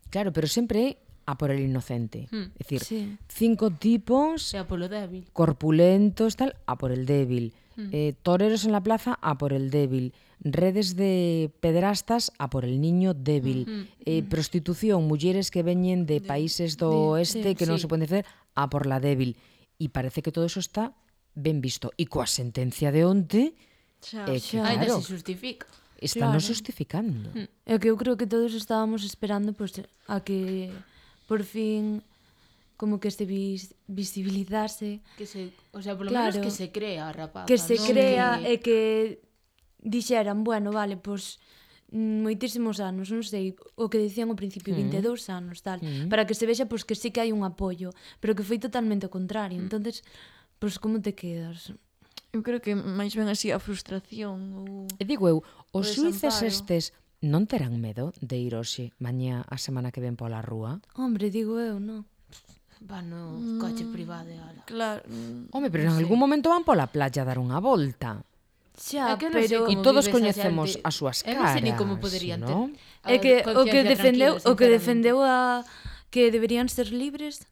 [SPEAKER 2] Claro, pero sempre é a por el inocente.
[SPEAKER 3] Mm.
[SPEAKER 2] É dicir,
[SPEAKER 4] sí.
[SPEAKER 2] cinco tipos
[SPEAKER 3] Sea polo débil.
[SPEAKER 2] corpulentos, tal, a por el débil.
[SPEAKER 3] Mm.
[SPEAKER 2] Eh, toreros en la plaza, a por el débil. Redes de pederastas, a por el niño débil.
[SPEAKER 3] Mm.
[SPEAKER 2] Eh, prostitución, mulleres que veñen de países do
[SPEAKER 4] de-
[SPEAKER 2] oeste
[SPEAKER 4] sí,
[SPEAKER 2] que non
[SPEAKER 3] sí.
[SPEAKER 2] se poden facer, a por la débil. E parece que todo eso está ben visto. E coa sentencia de onte,
[SPEAKER 5] Xa.
[SPEAKER 2] eh, que,
[SPEAKER 4] Xa.
[SPEAKER 3] Ainda
[SPEAKER 2] claro,
[SPEAKER 3] se justifica.
[SPEAKER 2] están
[SPEAKER 4] Claro.
[SPEAKER 2] justificando.
[SPEAKER 3] Mm.
[SPEAKER 4] É que eu creo que todos estábamos esperando pues, a que por fin como que se vis, visibilizase,
[SPEAKER 3] Que se, o sea, polo
[SPEAKER 4] Claro.
[SPEAKER 3] menos que se crea a rapaza.
[SPEAKER 4] que se
[SPEAKER 3] non
[SPEAKER 4] crea
[SPEAKER 3] que...
[SPEAKER 4] e que dixeran, bueno, vale, pois moitísimos anos, non sei, o que dicían ao principio, vinte e dous anos, tal,
[SPEAKER 2] Mm.
[SPEAKER 4] para que se vexa pois que sí que hai un apoio, pero que foi totalmente o contrario.
[SPEAKER 3] Mm.
[SPEAKER 4] Entonces, pois como te quedas?
[SPEAKER 5] Eu creo que máis ben así a frustración ou...
[SPEAKER 2] E digo eu, os
[SPEAKER 5] O
[SPEAKER 2] xuíces
[SPEAKER 5] desamparo.
[SPEAKER 2] estes non terán medo de ir hoxe, mañá, a semana que ven pola rúa?
[SPEAKER 4] Hombre, digo eu, non?
[SPEAKER 3] Va no coche privado e ala.
[SPEAKER 5] Claro, mm,
[SPEAKER 2] Home, pero en algún momento van pola playa a dar unha volta.
[SPEAKER 4] Xa,
[SPEAKER 3] É que non sei
[SPEAKER 4] pero
[SPEAKER 2] E
[SPEAKER 3] como
[SPEAKER 2] todos
[SPEAKER 3] vive esa
[SPEAKER 2] coñecemos
[SPEAKER 3] xente.
[SPEAKER 2] as súas
[SPEAKER 3] Eu
[SPEAKER 2] caras,
[SPEAKER 3] non sei ni como poderían ter.
[SPEAKER 2] ¿no?
[SPEAKER 3] a
[SPEAKER 4] é que o que
[SPEAKER 3] conciencia
[SPEAKER 4] defendeu,
[SPEAKER 3] tranquila,
[SPEAKER 4] o que
[SPEAKER 3] sinceramente.
[SPEAKER 4] defendeu a que deberían ser libres,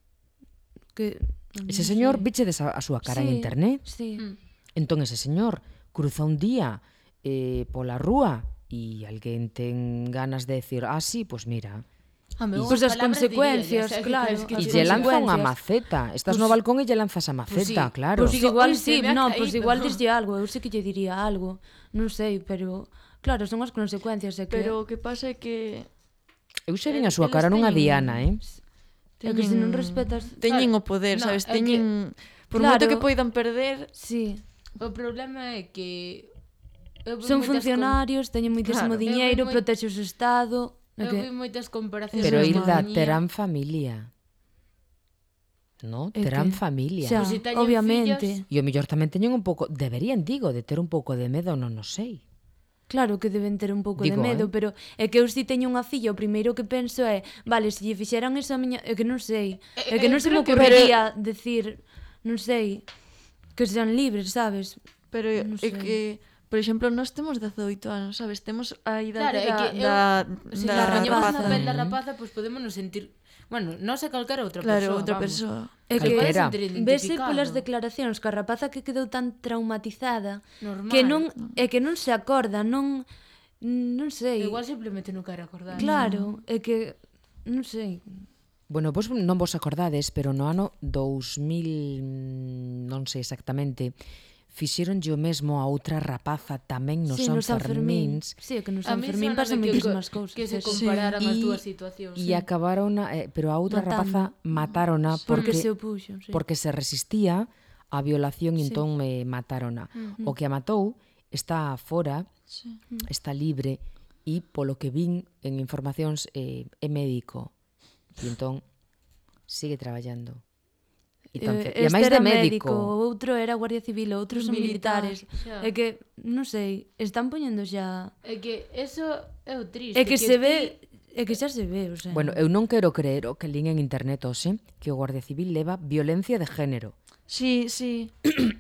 [SPEAKER 4] que
[SPEAKER 2] Ese
[SPEAKER 4] non
[SPEAKER 2] señor,
[SPEAKER 4] sei.
[SPEAKER 2] viche a, a súa cara en
[SPEAKER 4] Sí,
[SPEAKER 2] internet?
[SPEAKER 4] Sí.
[SPEAKER 3] Mm.
[SPEAKER 2] Entón ese señor cruza un día eh, pola rúa e alguén ten ganas de decir, ah, sí, pues mira,
[SPEAKER 3] Home,
[SPEAKER 2] E-
[SPEAKER 3] unhas
[SPEAKER 4] Pois as
[SPEAKER 3] palabras
[SPEAKER 4] consecuencias,
[SPEAKER 3] diríalles, eh,
[SPEAKER 4] claro,
[SPEAKER 3] que- que
[SPEAKER 2] e
[SPEAKER 4] as
[SPEAKER 2] lle
[SPEAKER 3] che-
[SPEAKER 2] lanza unha
[SPEAKER 4] consecuencias.
[SPEAKER 2] maceta. Estás no
[SPEAKER 4] Pois-
[SPEAKER 2] balcón e lle lanzas a maceta,
[SPEAKER 3] sí.
[SPEAKER 2] claro.
[SPEAKER 4] Pois
[SPEAKER 3] Digo,
[SPEAKER 4] igual
[SPEAKER 3] "Ui, se
[SPEAKER 4] sí,
[SPEAKER 3] me ha
[SPEAKER 4] no, pois
[SPEAKER 3] caído".
[SPEAKER 4] igual dislle algo, eu sei que lle diría algo, non sei, pero claro, son as consecuencias, é que
[SPEAKER 5] pero o que pasa é que
[SPEAKER 2] Eu sei ben a
[SPEAKER 5] El-
[SPEAKER 2] súa
[SPEAKER 5] eles
[SPEAKER 2] cara nunha
[SPEAKER 5] teñen-
[SPEAKER 2] diana, eh?
[SPEAKER 4] é que se non respetas,
[SPEAKER 5] teñen
[SPEAKER 3] Claro,
[SPEAKER 5] o poder,
[SPEAKER 3] no,
[SPEAKER 5] sabes?
[SPEAKER 3] é que-
[SPEAKER 5] Teñen por
[SPEAKER 4] Claro.
[SPEAKER 5] moito que poidan perder,
[SPEAKER 4] sí,
[SPEAKER 3] O problema é que eu vi
[SPEAKER 4] son
[SPEAKER 3] moitas
[SPEAKER 4] funcionarios, teñen moitísimo
[SPEAKER 5] Claro.
[SPEAKER 4] diñeiro,
[SPEAKER 3] Eu vi moi-
[SPEAKER 4] protege o seu estado,
[SPEAKER 3] Com...
[SPEAKER 4] é
[SPEAKER 3] Eu
[SPEAKER 4] que
[SPEAKER 3] vi moitas comparacións.
[SPEAKER 2] Pero
[SPEAKER 4] Eso é
[SPEAKER 2] Hilda,
[SPEAKER 3] Compañía.
[SPEAKER 2] terán familia. No,
[SPEAKER 4] É
[SPEAKER 2] terán
[SPEAKER 4] que-
[SPEAKER 2] familia.
[SPEAKER 4] xa,
[SPEAKER 3] Pois se teñen
[SPEAKER 4] obviamente.
[SPEAKER 3] fillas-
[SPEAKER 2] E o mellor tamén teñen un pouco, deberían, digo, de ter un pouco de medo, non o sei.
[SPEAKER 4] Claro que deben ter un pouco
[SPEAKER 2] Digo,
[SPEAKER 4] de medo,
[SPEAKER 2] eh.
[SPEAKER 4] pero é que eu si teño unha filla, o primeiro que penso é, vale, se lle fixeran eso a miña, é que non sei, é que
[SPEAKER 3] Eh,
[SPEAKER 4] non se me
[SPEAKER 3] creo que-
[SPEAKER 4] ocurriría decir, non sei, que sean libres, sabes?
[SPEAKER 5] pero
[SPEAKER 4] Non
[SPEAKER 5] é
[SPEAKER 4] sei.
[SPEAKER 5] que por exemplo, nós temos dezaoito anos, sabes? Temos a
[SPEAKER 3] Claro,
[SPEAKER 5] idade
[SPEAKER 3] é que eu-
[SPEAKER 5] da,
[SPEAKER 3] Se
[SPEAKER 5] da,
[SPEAKER 3] nos
[SPEAKER 5] da
[SPEAKER 3] poñemos
[SPEAKER 5] rapaza.
[SPEAKER 3] na pel da rapaza, pois podemos nos sentir... Bueno, non sei calquera outra
[SPEAKER 5] Claro,
[SPEAKER 3] persoa,
[SPEAKER 5] outra
[SPEAKER 3] vamos.
[SPEAKER 5] persoa.
[SPEAKER 4] É que
[SPEAKER 2] Calquera.
[SPEAKER 4] vese polas declaracións que a rapaza que quedou tan traumatizada
[SPEAKER 3] Normal.
[SPEAKER 4] que non é que non se acorda, non non sei.
[SPEAKER 3] Igual simplemente non quero acordar.
[SPEAKER 4] Claro, é que non sei.
[SPEAKER 2] Bueno, vos non vos acordades, pero no ano dous mil, non sei exactamente, fixeronlle o mesmo a outra rapaza tamén no
[SPEAKER 4] Sí,
[SPEAKER 2] San
[SPEAKER 4] no San Fermín.
[SPEAKER 2] Fermíns
[SPEAKER 4] Sí, é que no
[SPEAKER 3] A
[SPEAKER 4] San
[SPEAKER 3] mí
[SPEAKER 4] Fermín
[SPEAKER 3] sóname
[SPEAKER 4] pasan
[SPEAKER 3] que-
[SPEAKER 4] moitísimas cousas.
[SPEAKER 3] Que se
[SPEAKER 4] eso.
[SPEAKER 3] compararan as
[SPEAKER 2] E-
[SPEAKER 3] dúas situacións.
[SPEAKER 2] e acabaron, eh, pero a outra
[SPEAKER 4] Matando.
[SPEAKER 2] rapaza matarona
[SPEAKER 4] Porque
[SPEAKER 2] porque
[SPEAKER 4] se opuxo, sí.
[SPEAKER 2] porque se resistía á violación e
[SPEAKER 4] Sí.
[SPEAKER 2] entón me matarona. O que a matou está fora,
[SPEAKER 5] Sí.
[SPEAKER 2] está libre e polo que vin en informacións eh, é médico. E entón sigue traballando. E, tan
[SPEAKER 4] Eh,
[SPEAKER 2] fe... e a
[SPEAKER 4] este
[SPEAKER 2] máis de
[SPEAKER 4] era
[SPEAKER 2] médico.
[SPEAKER 4] o outro era guardia civil, outros son
[SPEAKER 3] Militar,
[SPEAKER 4] militares.
[SPEAKER 3] xa.
[SPEAKER 4] É que, non sei, están poñendo xa...
[SPEAKER 3] É que eso é o triste.
[SPEAKER 4] É que se
[SPEAKER 3] ti-
[SPEAKER 4] ve, é que xa se ve, o sea...
[SPEAKER 2] Bueno, eu non quero creer o que lín en internet hoxe que o Guardia Civil leva violencia de género.
[SPEAKER 5] Sí, sí.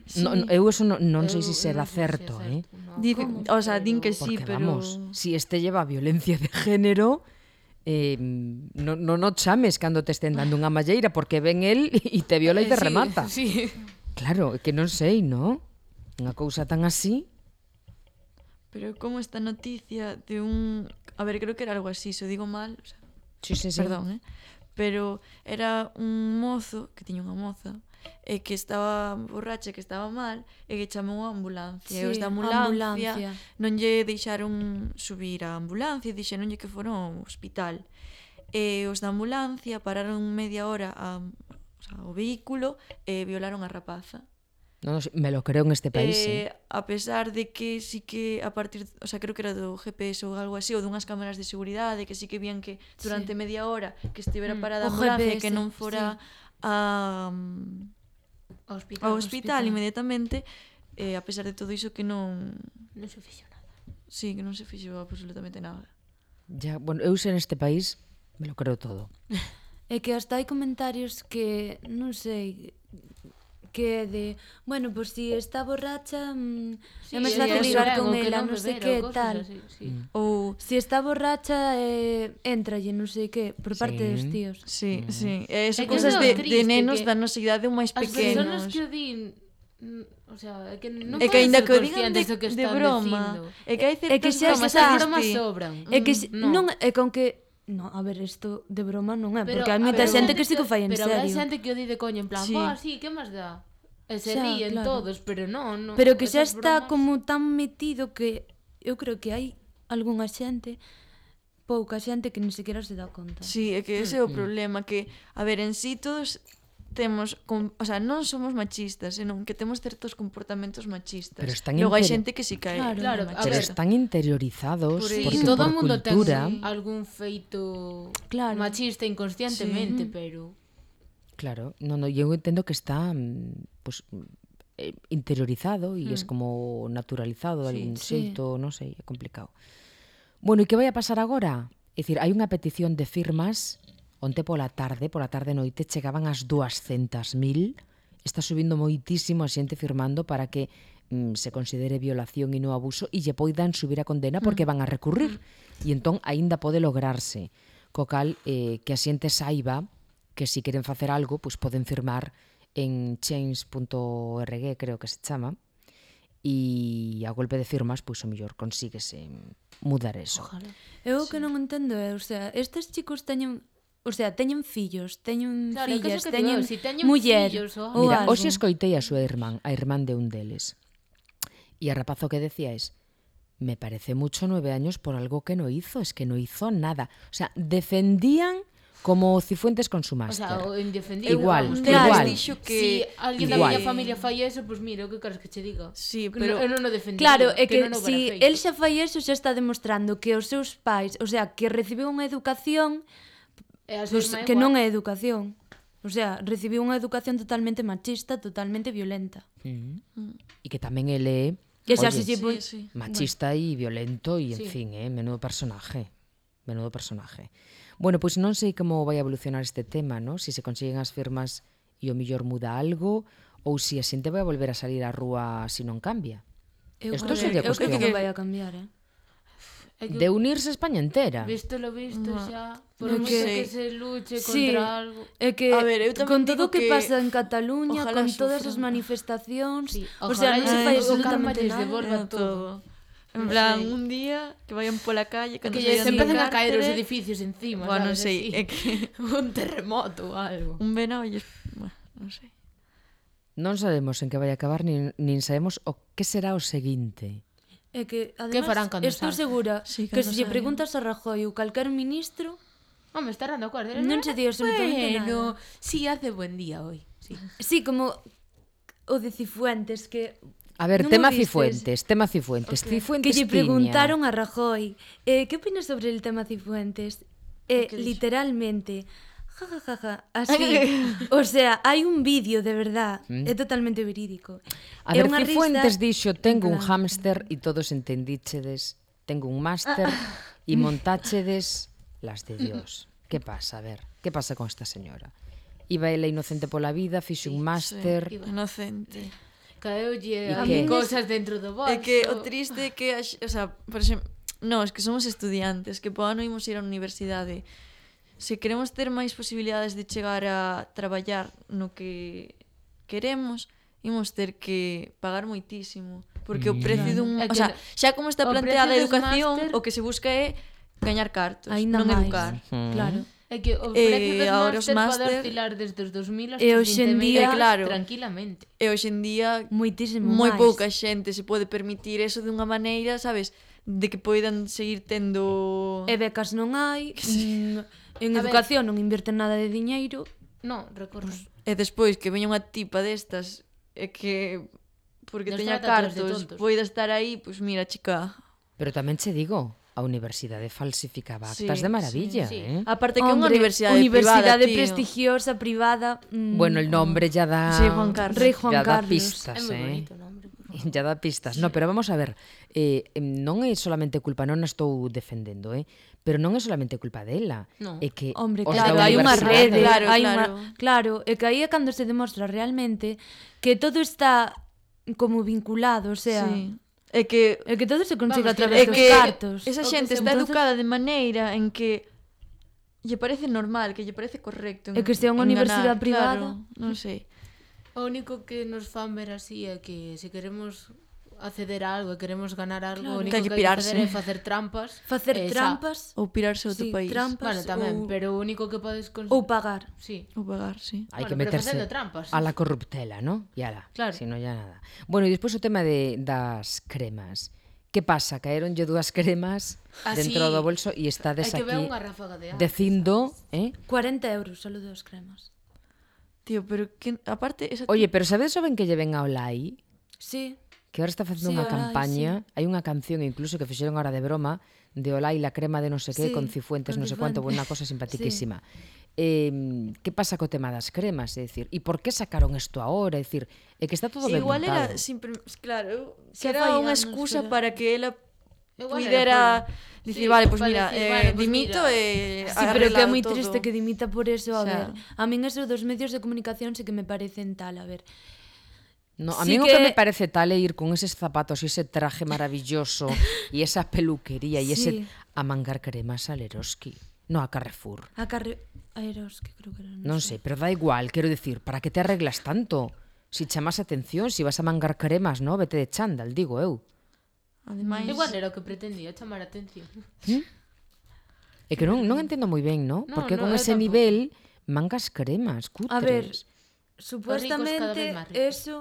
[SPEAKER 5] sí.
[SPEAKER 2] No, eu eso non, non sei
[SPEAKER 3] Eu-
[SPEAKER 2] se
[SPEAKER 3] eu
[SPEAKER 2] será
[SPEAKER 3] non sei se é
[SPEAKER 2] certo, eh?
[SPEAKER 3] no,
[SPEAKER 5] Di,
[SPEAKER 3] como,
[SPEAKER 5] o sea, din que
[SPEAKER 3] pero-
[SPEAKER 5] sí,
[SPEAKER 2] Porque
[SPEAKER 5] pero...
[SPEAKER 2] vamos, si este lleva violencia de género, eh, non no, no chames cando te estén dando unha malleira porque ven el e te viola e te
[SPEAKER 3] Eh, sí,
[SPEAKER 2] remata.
[SPEAKER 3] Sí.
[SPEAKER 2] Claro, é que non sei, non? Unha cousa tan así.
[SPEAKER 5] Pero como esta noticia de un... A ver, creo que era algo así, se o digo mal, o sea,
[SPEAKER 2] Sí, sí, sí.
[SPEAKER 5] perdón, eh? Pero era un mozo, que tiña unha moza, e que estaba borracha, que estaba mal, e que chamou a ambulancia.
[SPEAKER 4] Sí,
[SPEAKER 5] e os da ambulancia,
[SPEAKER 4] ambulancia.
[SPEAKER 5] non lle deixaron subir a ambulancia, dixeronlle que fora ao hospital. E os da ambulancia pararon media hora a, o sea, o vehículo e violaron a rapaza.
[SPEAKER 2] Non, non, me lo creo en este país, eh.
[SPEAKER 5] Eh, a pesar de que sí que a partir, o sea, creo que era do G P S ou algo así, ou dunhas cámaras de seguridade, que sí que vían que durante sí. media hora que estivera
[SPEAKER 3] Mm.
[SPEAKER 5] parada a
[SPEAKER 4] O
[SPEAKER 5] ambulancia,
[SPEAKER 4] G P S,
[SPEAKER 5] que non fora
[SPEAKER 4] sí.
[SPEAKER 5] a, um,
[SPEAKER 3] Ao hospital.
[SPEAKER 5] ao hospital inmediatamente, eh, a pesar de todo iso que non,
[SPEAKER 3] Non se fixo nada.
[SPEAKER 5] sí, que non se fixo absolutamente nada.
[SPEAKER 2] Ya, bueno, eu sei neste país, me lo creo todo.
[SPEAKER 4] É que hasta hai comentarios que, non sei, que é de, bueno, pois pues, si está borracha, mm,
[SPEAKER 3] Sí,
[SPEAKER 4] é máis
[SPEAKER 3] é
[SPEAKER 4] fácil
[SPEAKER 3] eso,
[SPEAKER 4] ligar
[SPEAKER 3] é,
[SPEAKER 4] con
[SPEAKER 3] o que
[SPEAKER 4] ela,
[SPEAKER 3] non
[SPEAKER 4] non sei
[SPEAKER 3] beber,
[SPEAKER 4] que
[SPEAKER 3] ou cosas
[SPEAKER 4] tal.
[SPEAKER 3] así, sí.
[SPEAKER 2] Mm.
[SPEAKER 5] Ou
[SPEAKER 4] Si está borracha, eh, entralle, non sei que, por parte
[SPEAKER 2] Sí.
[SPEAKER 4] dos tíos.
[SPEAKER 5] sí, sí, e
[SPEAKER 3] É
[SPEAKER 5] eso
[SPEAKER 3] que
[SPEAKER 5] cousas
[SPEAKER 3] é
[SPEAKER 5] de,
[SPEAKER 3] triste
[SPEAKER 5] de nenos
[SPEAKER 3] que
[SPEAKER 5] da nosa idade ou máis
[SPEAKER 3] As persoas
[SPEAKER 5] pequenos.
[SPEAKER 3] que o din, mm, o sea, é que non
[SPEAKER 5] É que
[SPEAKER 3] poden
[SPEAKER 5] aínda
[SPEAKER 3] ser
[SPEAKER 5] que o digan de,
[SPEAKER 3] conscientes do que
[SPEAKER 5] de
[SPEAKER 3] están
[SPEAKER 5] broma,
[SPEAKER 3] dicindo.
[SPEAKER 5] é que hai certas
[SPEAKER 4] É que xa
[SPEAKER 5] bromas
[SPEAKER 4] está-
[SPEAKER 5] que
[SPEAKER 3] As bromas
[SPEAKER 5] dis ti,
[SPEAKER 3] sobran.
[SPEAKER 4] É que si,
[SPEAKER 3] Mm,
[SPEAKER 4] non, é con que no, a ver, isto de broma non é,
[SPEAKER 3] Pero
[SPEAKER 4] porque hai
[SPEAKER 3] a
[SPEAKER 4] moita
[SPEAKER 3] ver,
[SPEAKER 4] xente que sí que o fai en
[SPEAKER 3] pero habrá
[SPEAKER 4] serio.
[SPEAKER 3] xente que o di de coño, en plan,
[SPEAKER 5] Sí.
[SPEAKER 3] "Ah, sí, que máis dá?" E se
[SPEAKER 4] Xa,
[SPEAKER 3] ríen
[SPEAKER 4] claro.
[SPEAKER 3] todos, pero non, non.
[SPEAKER 4] Pero que xa
[SPEAKER 3] esas
[SPEAKER 4] está
[SPEAKER 3] bromas-
[SPEAKER 4] como tan metido que eu creo que hai algunha xente, pouca xente que ni sequera se dá conta.
[SPEAKER 5] Sí, é que ese é o problema, que, a ver, en sí todos temos, com, o sea, non somos machistas, senón que temos certos comportamentos machistas.
[SPEAKER 2] Pero están
[SPEAKER 5] Logo hai
[SPEAKER 2] inter-
[SPEAKER 5] xente que si cae
[SPEAKER 4] Claro.
[SPEAKER 3] Claro, a
[SPEAKER 2] Pero
[SPEAKER 3] ver,
[SPEAKER 2] están interiorizados
[SPEAKER 5] Por
[SPEAKER 3] Sí,
[SPEAKER 2] porque
[SPEAKER 5] iso.
[SPEAKER 3] todo o
[SPEAKER 2] por
[SPEAKER 3] mundo
[SPEAKER 2] cultura,
[SPEAKER 3] ten algún feito
[SPEAKER 4] Claro.
[SPEAKER 3] machista inconscientemente,
[SPEAKER 4] Sí.
[SPEAKER 3] pero
[SPEAKER 2] claro, no, no, eu entendo que está mm, pues, eh, interiorizado e mm. es como naturalizado de
[SPEAKER 5] Sí,
[SPEAKER 2] algún
[SPEAKER 4] sí.
[SPEAKER 2] xeito, non sei, é complicado. Bueno, e que vai a pasar agora? É dicir, hai unha petición de firmas onte pola tarde, pola tarde noite, chegaban as duascentas mil, está subindo moitísimo a xente firmando para que mm, se considere violación e non abuso e lle poidan subir a condena porque van a recurrir. E entón, aínda pode lograrse. Co cal, eh, que a xente saiba que si queren facer algo, pois poden firmar en change punto org, creo que se chama, e a golpe de firmas, pois o mellor consíguese mudar eso.
[SPEAKER 3] ojalá.
[SPEAKER 4] Eu o que non entendo é, o sea, estes chicos teñen, o sea, teñen fillos, teñen
[SPEAKER 3] Claro, é que
[SPEAKER 4] fillas,
[SPEAKER 3] eso que
[SPEAKER 4] teñen
[SPEAKER 3] digo, si teñen
[SPEAKER 4] muller,
[SPEAKER 3] fillos ou
[SPEAKER 4] ou
[SPEAKER 2] Mira,
[SPEAKER 4] algo.
[SPEAKER 2] hoxe escoitei a súa irmán, a irmán de un deles. E a rapazo que decía es, me parece mucho nueve años por algo que no hizo, es que no hizo nada. O sea, defendían como Cifuentes con su
[SPEAKER 3] O
[SPEAKER 2] máster.
[SPEAKER 3] sea, o indefendible.
[SPEAKER 2] Igual,
[SPEAKER 3] vamos,
[SPEAKER 5] Claro,
[SPEAKER 2] igual.
[SPEAKER 5] dixo que...
[SPEAKER 3] Si alguén da
[SPEAKER 2] Igual.
[SPEAKER 3] miña familia fai eso, pois pues mira, o que queres que che diga?
[SPEAKER 5] Sí,
[SPEAKER 3] Que
[SPEAKER 5] pero...
[SPEAKER 3] no, eu non o defendería.
[SPEAKER 4] Claro, é que,
[SPEAKER 3] non o
[SPEAKER 4] si
[SPEAKER 3] hubiera feito.
[SPEAKER 4] el xa fai eso, xa está demostrando que os seus pais, o sea, que recibiu unha educación
[SPEAKER 3] E a
[SPEAKER 4] pues,
[SPEAKER 3] súa irmá
[SPEAKER 4] que
[SPEAKER 3] igual.
[SPEAKER 4] non é educación. O sea, recibiu unha educación totalmente machista, totalmente violenta.
[SPEAKER 2] Mm. E que tamén ele é
[SPEAKER 4] Que xa
[SPEAKER 2] oye,
[SPEAKER 4] se lle
[SPEAKER 5] Sí,
[SPEAKER 4] pon-
[SPEAKER 5] sí.
[SPEAKER 2] machista e violento e, en
[SPEAKER 3] Sí.
[SPEAKER 2] fin, eh, menudo personaje. Menudo personaje. Bueno, pois non sei como vai a evolucionar este tema, ¿no? Si se consiguen as firmas e o mellor muda algo ou si a xente vai a volver a salir á rúa se non cambia.
[SPEAKER 4] Eu,
[SPEAKER 2] Esto
[SPEAKER 4] creo-
[SPEAKER 2] sería
[SPEAKER 4] eu creo que
[SPEAKER 2] cuestión.
[SPEAKER 4] non vai a cambiar, eh?
[SPEAKER 3] É que,
[SPEAKER 2] De unirse a España entera.
[SPEAKER 3] visto lo visto
[SPEAKER 5] No.
[SPEAKER 3] xa, por
[SPEAKER 4] É
[SPEAKER 3] moito
[SPEAKER 5] que-
[SPEAKER 3] que se luche
[SPEAKER 4] Sí.
[SPEAKER 3] contra algo.
[SPEAKER 4] É que
[SPEAKER 5] A ver, eu tamén
[SPEAKER 4] con
[SPEAKER 5] digo
[SPEAKER 4] todo o que,
[SPEAKER 5] que
[SPEAKER 4] pasa en Cataluña,
[SPEAKER 5] ojalá
[SPEAKER 4] con todas
[SPEAKER 5] sufran.
[SPEAKER 4] as manifestacións,
[SPEAKER 3] Sí,
[SPEAKER 4] o sea, non se
[SPEAKER 3] ojalá
[SPEAKER 4] fai
[SPEAKER 3] o karma
[SPEAKER 4] absolutamente
[SPEAKER 3] lles
[SPEAKER 4] nada.
[SPEAKER 3] devolva
[SPEAKER 5] Era
[SPEAKER 3] todo.
[SPEAKER 5] En
[SPEAKER 3] Non
[SPEAKER 5] plan,
[SPEAKER 3] sei.
[SPEAKER 5] un día que vayan pola calle,
[SPEAKER 3] Que
[SPEAKER 5] cando
[SPEAKER 3] lle se
[SPEAKER 5] saian do
[SPEAKER 3] empecen a caer os
[SPEAKER 5] cárcere,
[SPEAKER 3] edificios encima,
[SPEAKER 5] Bueno, non
[SPEAKER 3] sabes,
[SPEAKER 5] sei,
[SPEAKER 3] así.
[SPEAKER 5] é que
[SPEAKER 3] Un terremoto ou algo.
[SPEAKER 5] un venado lles... Bueno, non sei.
[SPEAKER 2] Non sabemos en que vai acabar, nin, nin sabemos o que será o seguinte.
[SPEAKER 4] É que,
[SPEAKER 3] Que farán
[SPEAKER 4] además,
[SPEAKER 3] cando
[SPEAKER 4] estou
[SPEAKER 3] salga?
[SPEAKER 4] segura
[SPEAKER 5] Sí,
[SPEAKER 4] que
[SPEAKER 5] cando
[SPEAKER 4] se lle
[SPEAKER 5] salga.
[SPEAKER 4] preguntas a Rajoy ou calquer ministro,
[SPEAKER 3] Home, estarán de acordo.
[SPEAKER 4] Non se di absolutamente
[SPEAKER 3] bueno,
[SPEAKER 4] nada.
[SPEAKER 3] sí, hace buen día hoy. Sí.
[SPEAKER 4] sí, como o de Cifuentes, que
[SPEAKER 2] A ver,
[SPEAKER 4] non o
[SPEAKER 2] tema
[SPEAKER 4] vistes?
[SPEAKER 2] Cifuentes, tema Cifuentes.
[SPEAKER 3] Okay.
[SPEAKER 2] Cifuentes
[SPEAKER 4] que lle
[SPEAKER 2] tiña-
[SPEAKER 4] preguntaron a Rajoy, eh, que opinas sobre el tema Cifuentes? Eh,
[SPEAKER 5] Que dixo?
[SPEAKER 4] literalmente, Ja, ja, ja, ja. Así. O sea, hai un vídeo de verdad,
[SPEAKER 2] Mm.
[SPEAKER 4] é totalmente verídico.
[SPEAKER 2] A
[SPEAKER 4] É
[SPEAKER 2] ver,
[SPEAKER 4] unha
[SPEAKER 2] Cifuentes
[SPEAKER 4] risa
[SPEAKER 2] dixo,
[SPEAKER 4] en
[SPEAKER 2] tengo un
[SPEAKER 4] plan-
[SPEAKER 2] hámster e todos entendíchedes, tengo un máster e montáchedes las de Dios. Que pasa? A ver, que pasa con esta señora? Iba ela inocente pola vida, fixe un máster...
[SPEAKER 3] iba.
[SPEAKER 5] Inocente.
[SPEAKER 3] Caeulle
[SPEAKER 2] E
[SPEAKER 3] a
[SPEAKER 2] que?
[SPEAKER 3] cosas dentro do bolso.
[SPEAKER 5] É que o triste é que, a x- o sea, por exemplo, no, es que somos estudiantes, que po ano imos ir á universidade. Se queremos ter máis posibilidades de chegar a traballar no que queremos, imos ter que pagar moitísimo, porque o precio dun,
[SPEAKER 3] É
[SPEAKER 5] o
[SPEAKER 3] que
[SPEAKER 5] sea, xa como está
[SPEAKER 3] o
[SPEAKER 5] planteada a
[SPEAKER 3] precio dos
[SPEAKER 5] educación,
[SPEAKER 3] máster-
[SPEAKER 5] o que se busca é gañar cartos,
[SPEAKER 4] Aínda
[SPEAKER 5] non
[SPEAKER 4] máis.
[SPEAKER 5] educar.
[SPEAKER 4] Claro.
[SPEAKER 3] É que o
[SPEAKER 5] Eh,
[SPEAKER 3] precio dos
[SPEAKER 5] agora os
[SPEAKER 3] máster pode
[SPEAKER 5] máster-
[SPEAKER 3] oscilar desde os dos mil hasta
[SPEAKER 4] E
[SPEAKER 3] os
[SPEAKER 4] hoxe en
[SPEAKER 3] vinte mil
[SPEAKER 4] día-
[SPEAKER 5] Eh, claro.
[SPEAKER 3] tranquilamente.
[SPEAKER 5] E hoxe en día
[SPEAKER 4] Moitísimo
[SPEAKER 5] moi
[SPEAKER 4] máis.
[SPEAKER 5] pouca xente se pode permitir eso de unha maneira, sabes, de que poidan seguir tendo...
[SPEAKER 4] E becas non hai, mm, en
[SPEAKER 3] A ver.
[SPEAKER 4] educación non invierten nada de diñeiro.
[SPEAKER 3] No, recordo.
[SPEAKER 5] E despois que veña unha tipa destas e que porque
[SPEAKER 3] Nos
[SPEAKER 5] teña
[SPEAKER 3] trata a todos de
[SPEAKER 5] cartos
[SPEAKER 3] tontos.
[SPEAKER 5] poida estar aí, pois pues mira, chica.
[SPEAKER 2] Pero tamén che digo, a universidade falsificaba actas
[SPEAKER 5] Sí,
[SPEAKER 2] de maravilla,
[SPEAKER 3] sí, sí.
[SPEAKER 2] eh?
[SPEAKER 5] Aparte que é unha
[SPEAKER 4] Hombre,
[SPEAKER 5] universidade,
[SPEAKER 4] universidade
[SPEAKER 5] privada, tío.
[SPEAKER 4] prestigiosa, privada. mm,
[SPEAKER 2] Bueno, el nombre ya da...
[SPEAKER 5] Sí, Juan Carlos.
[SPEAKER 4] Rei Juan
[SPEAKER 2] ya da
[SPEAKER 4] Carlos.
[SPEAKER 2] pistas,
[SPEAKER 3] É moi
[SPEAKER 2] eh?
[SPEAKER 3] bonito o nombre. por favor.
[SPEAKER 2] Ya da pistas. No, pero vamos a ver, eh, em, non é solamente culpa, non a estou defendendo, eh? Pero non é solamente culpa dela.
[SPEAKER 3] No.
[SPEAKER 2] É que
[SPEAKER 4] Hombre,
[SPEAKER 2] os
[SPEAKER 4] claro,
[SPEAKER 2] da
[SPEAKER 4] hai unha
[SPEAKER 2] universidade-
[SPEAKER 4] rede,
[SPEAKER 5] Claro,
[SPEAKER 4] hai
[SPEAKER 5] claro.
[SPEAKER 4] unha, claro, e que aí é cando se demostra realmente que todo está como vinculado, o sea,
[SPEAKER 5] Sí. É que
[SPEAKER 4] é que todo se consigue
[SPEAKER 3] Vamos,
[SPEAKER 4] a través
[SPEAKER 5] é
[SPEAKER 4] dos
[SPEAKER 5] que
[SPEAKER 4] cartos.
[SPEAKER 5] esa
[SPEAKER 3] O que
[SPEAKER 5] xente
[SPEAKER 3] se-
[SPEAKER 5] está
[SPEAKER 4] entonces-
[SPEAKER 5] educada de maneira en que lle parece normal, que lle parece correcto.
[SPEAKER 4] É que sea unha
[SPEAKER 5] enganar,
[SPEAKER 4] universidade privada.
[SPEAKER 5] Claro, non sei.
[SPEAKER 3] O único que nos fan ver así é que se queremos acceder a algo e queremos ganar algo,
[SPEAKER 4] Claro.
[SPEAKER 3] o único
[SPEAKER 5] Que hai
[SPEAKER 3] que,
[SPEAKER 5] que
[SPEAKER 3] hai que
[SPEAKER 5] pirarse.
[SPEAKER 3] facer é facer trampas.
[SPEAKER 4] Facer
[SPEAKER 3] e xa-
[SPEAKER 4] trampas
[SPEAKER 5] Ou pirarse a outro
[SPEAKER 4] sí,
[SPEAKER 5] país.
[SPEAKER 4] trampas
[SPEAKER 3] Bueno, tamén,
[SPEAKER 4] ou,
[SPEAKER 3] pero o único que podes conseguir...
[SPEAKER 4] ou pagar.
[SPEAKER 3] Sí.
[SPEAKER 5] Ou pagar, sí.
[SPEAKER 2] Hai que
[SPEAKER 3] Bueno, pero
[SPEAKER 2] meterse
[SPEAKER 3] facendo trampas.
[SPEAKER 2] a la corruptela, ¿no? Y ala,
[SPEAKER 3] Claro.
[SPEAKER 2] si no ya nada. Bueno, e despois o tema de das cremas. Que pasa? Caeronlle dúas cremas
[SPEAKER 3] Ah,
[SPEAKER 2] dentro
[SPEAKER 3] sí.
[SPEAKER 2] do bolso e estades
[SPEAKER 3] Hai que ver
[SPEAKER 2] aquí
[SPEAKER 3] unha ráfaga de agua.
[SPEAKER 2] dicindo, eh?
[SPEAKER 4] cuarenta euros solo dos cremas.
[SPEAKER 5] Tío, pero que aparte esa
[SPEAKER 2] Oye, pero sabedes o ben que lle ven a Olai?
[SPEAKER 4] Sí,
[SPEAKER 2] Que ahora está facendo
[SPEAKER 4] Sí,
[SPEAKER 2] unha
[SPEAKER 4] Olai,
[SPEAKER 2] campaña, hai unha canción incluso que fixeron ahora de broma de Olai la crema de no sé qué
[SPEAKER 4] Sí,
[SPEAKER 2] con Cifuentes,
[SPEAKER 4] con
[SPEAKER 2] no sé cuánto,
[SPEAKER 4] Cifuentes.
[SPEAKER 2] unha cosa simpaticísima. Eh, que pasa co tema das cremas? É dicir, e por que sacaron isto agora? É dicir, é que está todo
[SPEAKER 5] Sí,
[SPEAKER 2] ben
[SPEAKER 5] igual
[SPEAKER 2] montado.
[SPEAKER 5] era simpre, claro, eu- que
[SPEAKER 4] Xa
[SPEAKER 5] era
[SPEAKER 4] fai
[SPEAKER 5] unha
[SPEAKER 4] anos,
[SPEAKER 5] excusa
[SPEAKER 4] pero-
[SPEAKER 5] para que ela
[SPEAKER 3] Igual
[SPEAKER 5] puidera
[SPEAKER 3] era
[SPEAKER 5] dicir,
[SPEAKER 3] Sí,
[SPEAKER 5] vale, pois
[SPEAKER 3] para
[SPEAKER 5] mira,
[SPEAKER 3] decir,
[SPEAKER 5] eh,
[SPEAKER 3] bueno, pues
[SPEAKER 5] dimito
[SPEAKER 3] mira.
[SPEAKER 5] e
[SPEAKER 4] sí, pero que é moi
[SPEAKER 5] arreglado
[SPEAKER 4] triste
[SPEAKER 5] todo.
[SPEAKER 4] que dimita por eso, a
[SPEAKER 5] Xa.
[SPEAKER 4] ver. A min eso dos medios de comunicación sí que me parecen tal, a ver.
[SPEAKER 2] No, a
[SPEAKER 4] Sí
[SPEAKER 2] mí o que
[SPEAKER 4] que-
[SPEAKER 2] me parece tal é ir con eses zapatos e ese traje maravilloso e esa peluquería e ese
[SPEAKER 4] Sí.
[SPEAKER 2] a mangar cremas a Leroski. No, a Carrefour.
[SPEAKER 4] A carre... A Eros, que creo que era,
[SPEAKER 2] Non sei, pero da igual, quero decir, para que te arreglas tanto? Si chamas atención, si vas a mangar cremas, no? Vete de chándal, digo eu.
[SPEAKER 5] Ademais,
[SPEAKER 3] Igual era o que pretendía, chamar a atención.
[SPEAKER 2] É que non, non entendo moi ben, no?
[SPEAKER 3] No,
[SPEAKER 2] Porque
[SPEAKER 3] no,
[SPEAKER 2] con
[SPEAKER 3] eu
[SPEAKER 2] ese
[SPEAKER 3] tampouco.
[SPEAKER 2] nivel mangas cremas, cutres.
[SPEAKER 4] A ver,
[SPEAKER 3] cada
[SPEAKER 4] supuestamente
[SPEAKER 3] vez máis ricos.
[SPEAKER 4] eso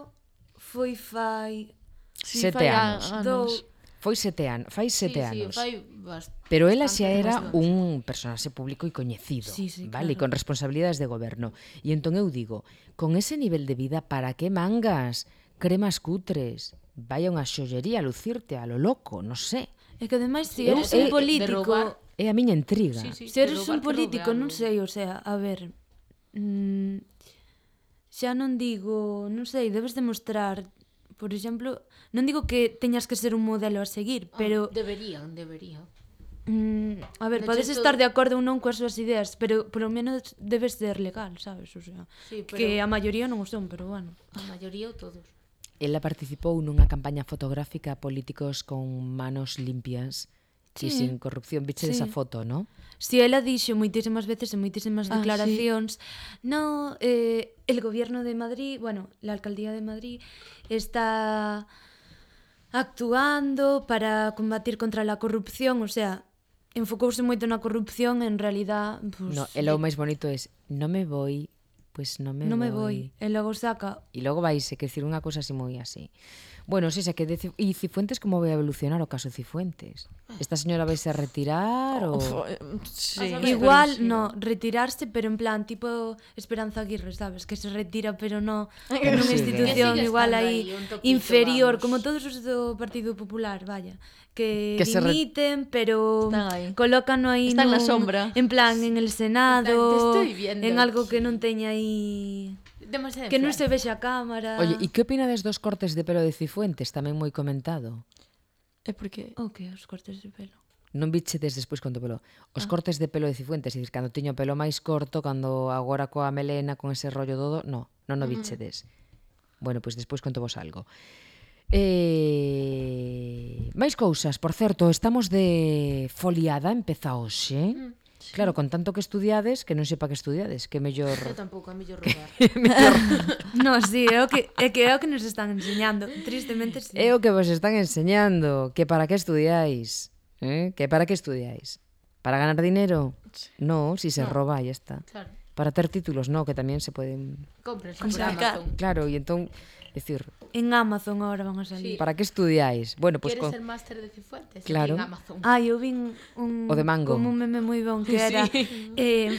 [SPEAKER 4] foi fai
[SPEAKER 5] sí,
[SPEAKER 2] sete
[SPEAKER 5] fai
[SPEAKER 2] anos.
[SPEAKER 5] anos.
[SPEAKER 4] dous...
[SPEAKER 2] Foi sete anos, fai sete
[SPEAKER 3] sí,
[SPEAKER 2] anos.
[SPEAKER 3] Sí, fai bast...
[SPEAKER 2] Pero ela xa
[SPEAKER 3] bastante
[SPEAKER 2] era
[SPEAKER 3] máis.
[SPEAKER 2] un personaxe público e coñecido,
[SPEAKER 4] Sí, sí,
[SPEAKER 2] vale? E
[SPEAKER 4] claro.
[SPEAKER 2] con responsabilidades de goberno. E entón eu digo, con ese nivel de vida, para que mangas cremas cutres? Vaya unha xollería a lucirte a lo loco, non sei.
[SPEAKER 4] É que ademais, se
[SPEAKER 2] Eu-
[SPEAKER 4] eres
[SPEAKER 2] eh,
[SPEAKER 4] un
[SPEAKER 3] de
[SPEAKER 4] político...
[SPEAKER 3] roubar.
[SPEAKER 2] É a miña intriga.
[SPEAKER 3] Sí, sí,
[SPEAKER 4] Se
[SPEAKER 3] de
[SPEAKER 4] eres
[SPEAKER 3] roubar
[SPEAKER 4] un
[SPEAKER 3] que
[SPEAKER 4] político,
[SPEAKER 3] roube
[SPEAKER 4] non
[SPEAKER 3] algo.
[SPEAKER 4] sei, o sea, a ver... Mm, xa non digo, non sei, debes demostrar, por exemplo, non digo que teñas que ser un modelo a seguir,
[SPEAKER 3] Ah,
[SPEAKER 4] pero
[SPEAKER 3] Deberían, deberían.
[SPEAKER 4] mm, a ver,
[SPEAKER 3] De
[SPEAKER 4] podes
[SPEAKER 3] hecho,
[SPEAKER 4] estar de acordo ou non coas súas ideas, pero polo menos debes ser legal, sabes? O sea,
[SPEAKER 3] Sí, pero
[SPEAKER 4] que a maioría non o son, pero bueno.
[SPEAKER 3] a maioría ou todos.
[SPEAKER 2] Ela participou nunha campaña fotográfica a políticos con manos limpias e
[SPEAKER 4] Sí.
[SPEAKER 2] sin corrupción. Viche esa
[SPEAKER 4] Sí.
[SPEAKER 2] foto, ¿no?
[SPEAKER 4] Si ela dixo moitísimas veces en moitísimas
[SPEAKER 5] Ah,
[SPEAKER 4] declaracións, no, eh, el gobierno de Madrid, bueno, la alcaldía de Madrid está actuando para combatir contra la corrupción, o sea, enfocouse moito na corrupción, en realidad, pues,
[SPEAKER 2] No, ela o máis bonito é, no me voy, pois non me
[SPEAKER 4] Non me
[SPEAKER 2] voi.
[SPEAKER 4] voi. E logo saca...
[SPEAKER 2] E logo vaise, que decir unha cousa así moi así. Bueno, si, xa que de, e Cifuentes como vai a evolucionar o caso Cifuentes? Esta señora vaise a retirar ou...
[SPEAKER 5] Uf, eh, sí,
[SPEAKER 3] A saber.
[SPEAKER 5] pero
[SPEAKER 4] Igual,
[SPEAKER 5] sí.
[SPEAKER 4] no, retirarse, pero en plan, tipo Esperanza Aguirre, sabes? Que se retira, pero no en unha
[SPEAKER 2] Sí,
[SPEAKER 4] institución
[SPEAKER 3] que sigue
[SPEAKER 4] igual
[SPEAKER 3] estando
[SPEAKER 4] aí
[SPEAKER 3] aí, un toquito,
[SPEAKER 4] inferior,
[SPEAKER 3] vamos.
[SPEAKER 4] como todos os do Partido Popular, vaya. Que,
[SPEAKER 2] Que se re-
[SPEAKER 4] dimiten, pero
[SPEAKER 5] Están aí.
[SPEAKER 4] colócano aí
[SPEAKER 5] Están na
[SPEAKER 4] nun-
[SPEAKER 5] sombra.
[SPEAKER 4] en plan, en el Senado,
[SPEAKER 3] En plan, te estoy viendo
[SPEAKER 4] en algo que
[SPEAKER 3] aquí.
[SPEAKER 4] non teña aí...
[SPEAKER 3] Demasiada
[SPEAKER 4] Que non se
[SPEAKER 3] influencia.
[SPEAKER 4] vexa a cámara.
[SPEAKER 2] Oye, e que opinades dos cortes de pelo de Cifuentes? Tamén moi comentado.
[SPEAKER 5] É porque...
[SPEAKER 4] O que, os cortes de pelo?
[SPEAKER 2] Non bichedes despois con o pelo. Os cortes de pelo de Cifuentes, é dicir, cando tiño o pelo máis corto, cando agora coa melena, con ese rollo todo, no, non o bichedes. Bueno, pois despois conto vos algo. Eh... máis cousas, por certo, estamos de foliada, empeza hoxe. Mm. Claro, con tanto que estudiades, que non sei pa que estudiades, que mellor...
[SPEAKER 3] Eu tampouco, é mellor robar.
[SPEAKER 4] No, sí, é o que, é que é o que nos están enseñando. Tristemente, sí.
[SPEAKER 2] É o que vos están enseñando, que para que estudiáis, eh? Que para que estudiáis? Para ganar dinero? No, si se
[SPEAKER 3] No.
[SPEAKER 2] roba, ya está.
[SPEAKER 3] Claro.
[SPEAKER 2] Para ter títulos, no, que tamén se poden...
[SPEAKER 3] Cómprense por
[SPEAKER 5] Sacar.
[SPEAKER 3] Amazon.
[SPEAKER 2] Claro, e entón, decir,
[SPEAKER 4] En Amazon ahora van a salir.
[SPEAKER 3] Sí.
[SPEAKER 2] para que estudiáis? Bueno, pois
[SPEAKER 3] Queres
[SPEAKER 2] con...
[SPEAKER 3] el máster de Cifuentes?
[SPEAKER 2] Claro.
[SPEAKER 3] En Amazon.
[SPEAKER 4] Ah, eu vin un,
[SPEAKER 2] O de mango.
[SPEAKER 4] como un meme moi bon que era eh,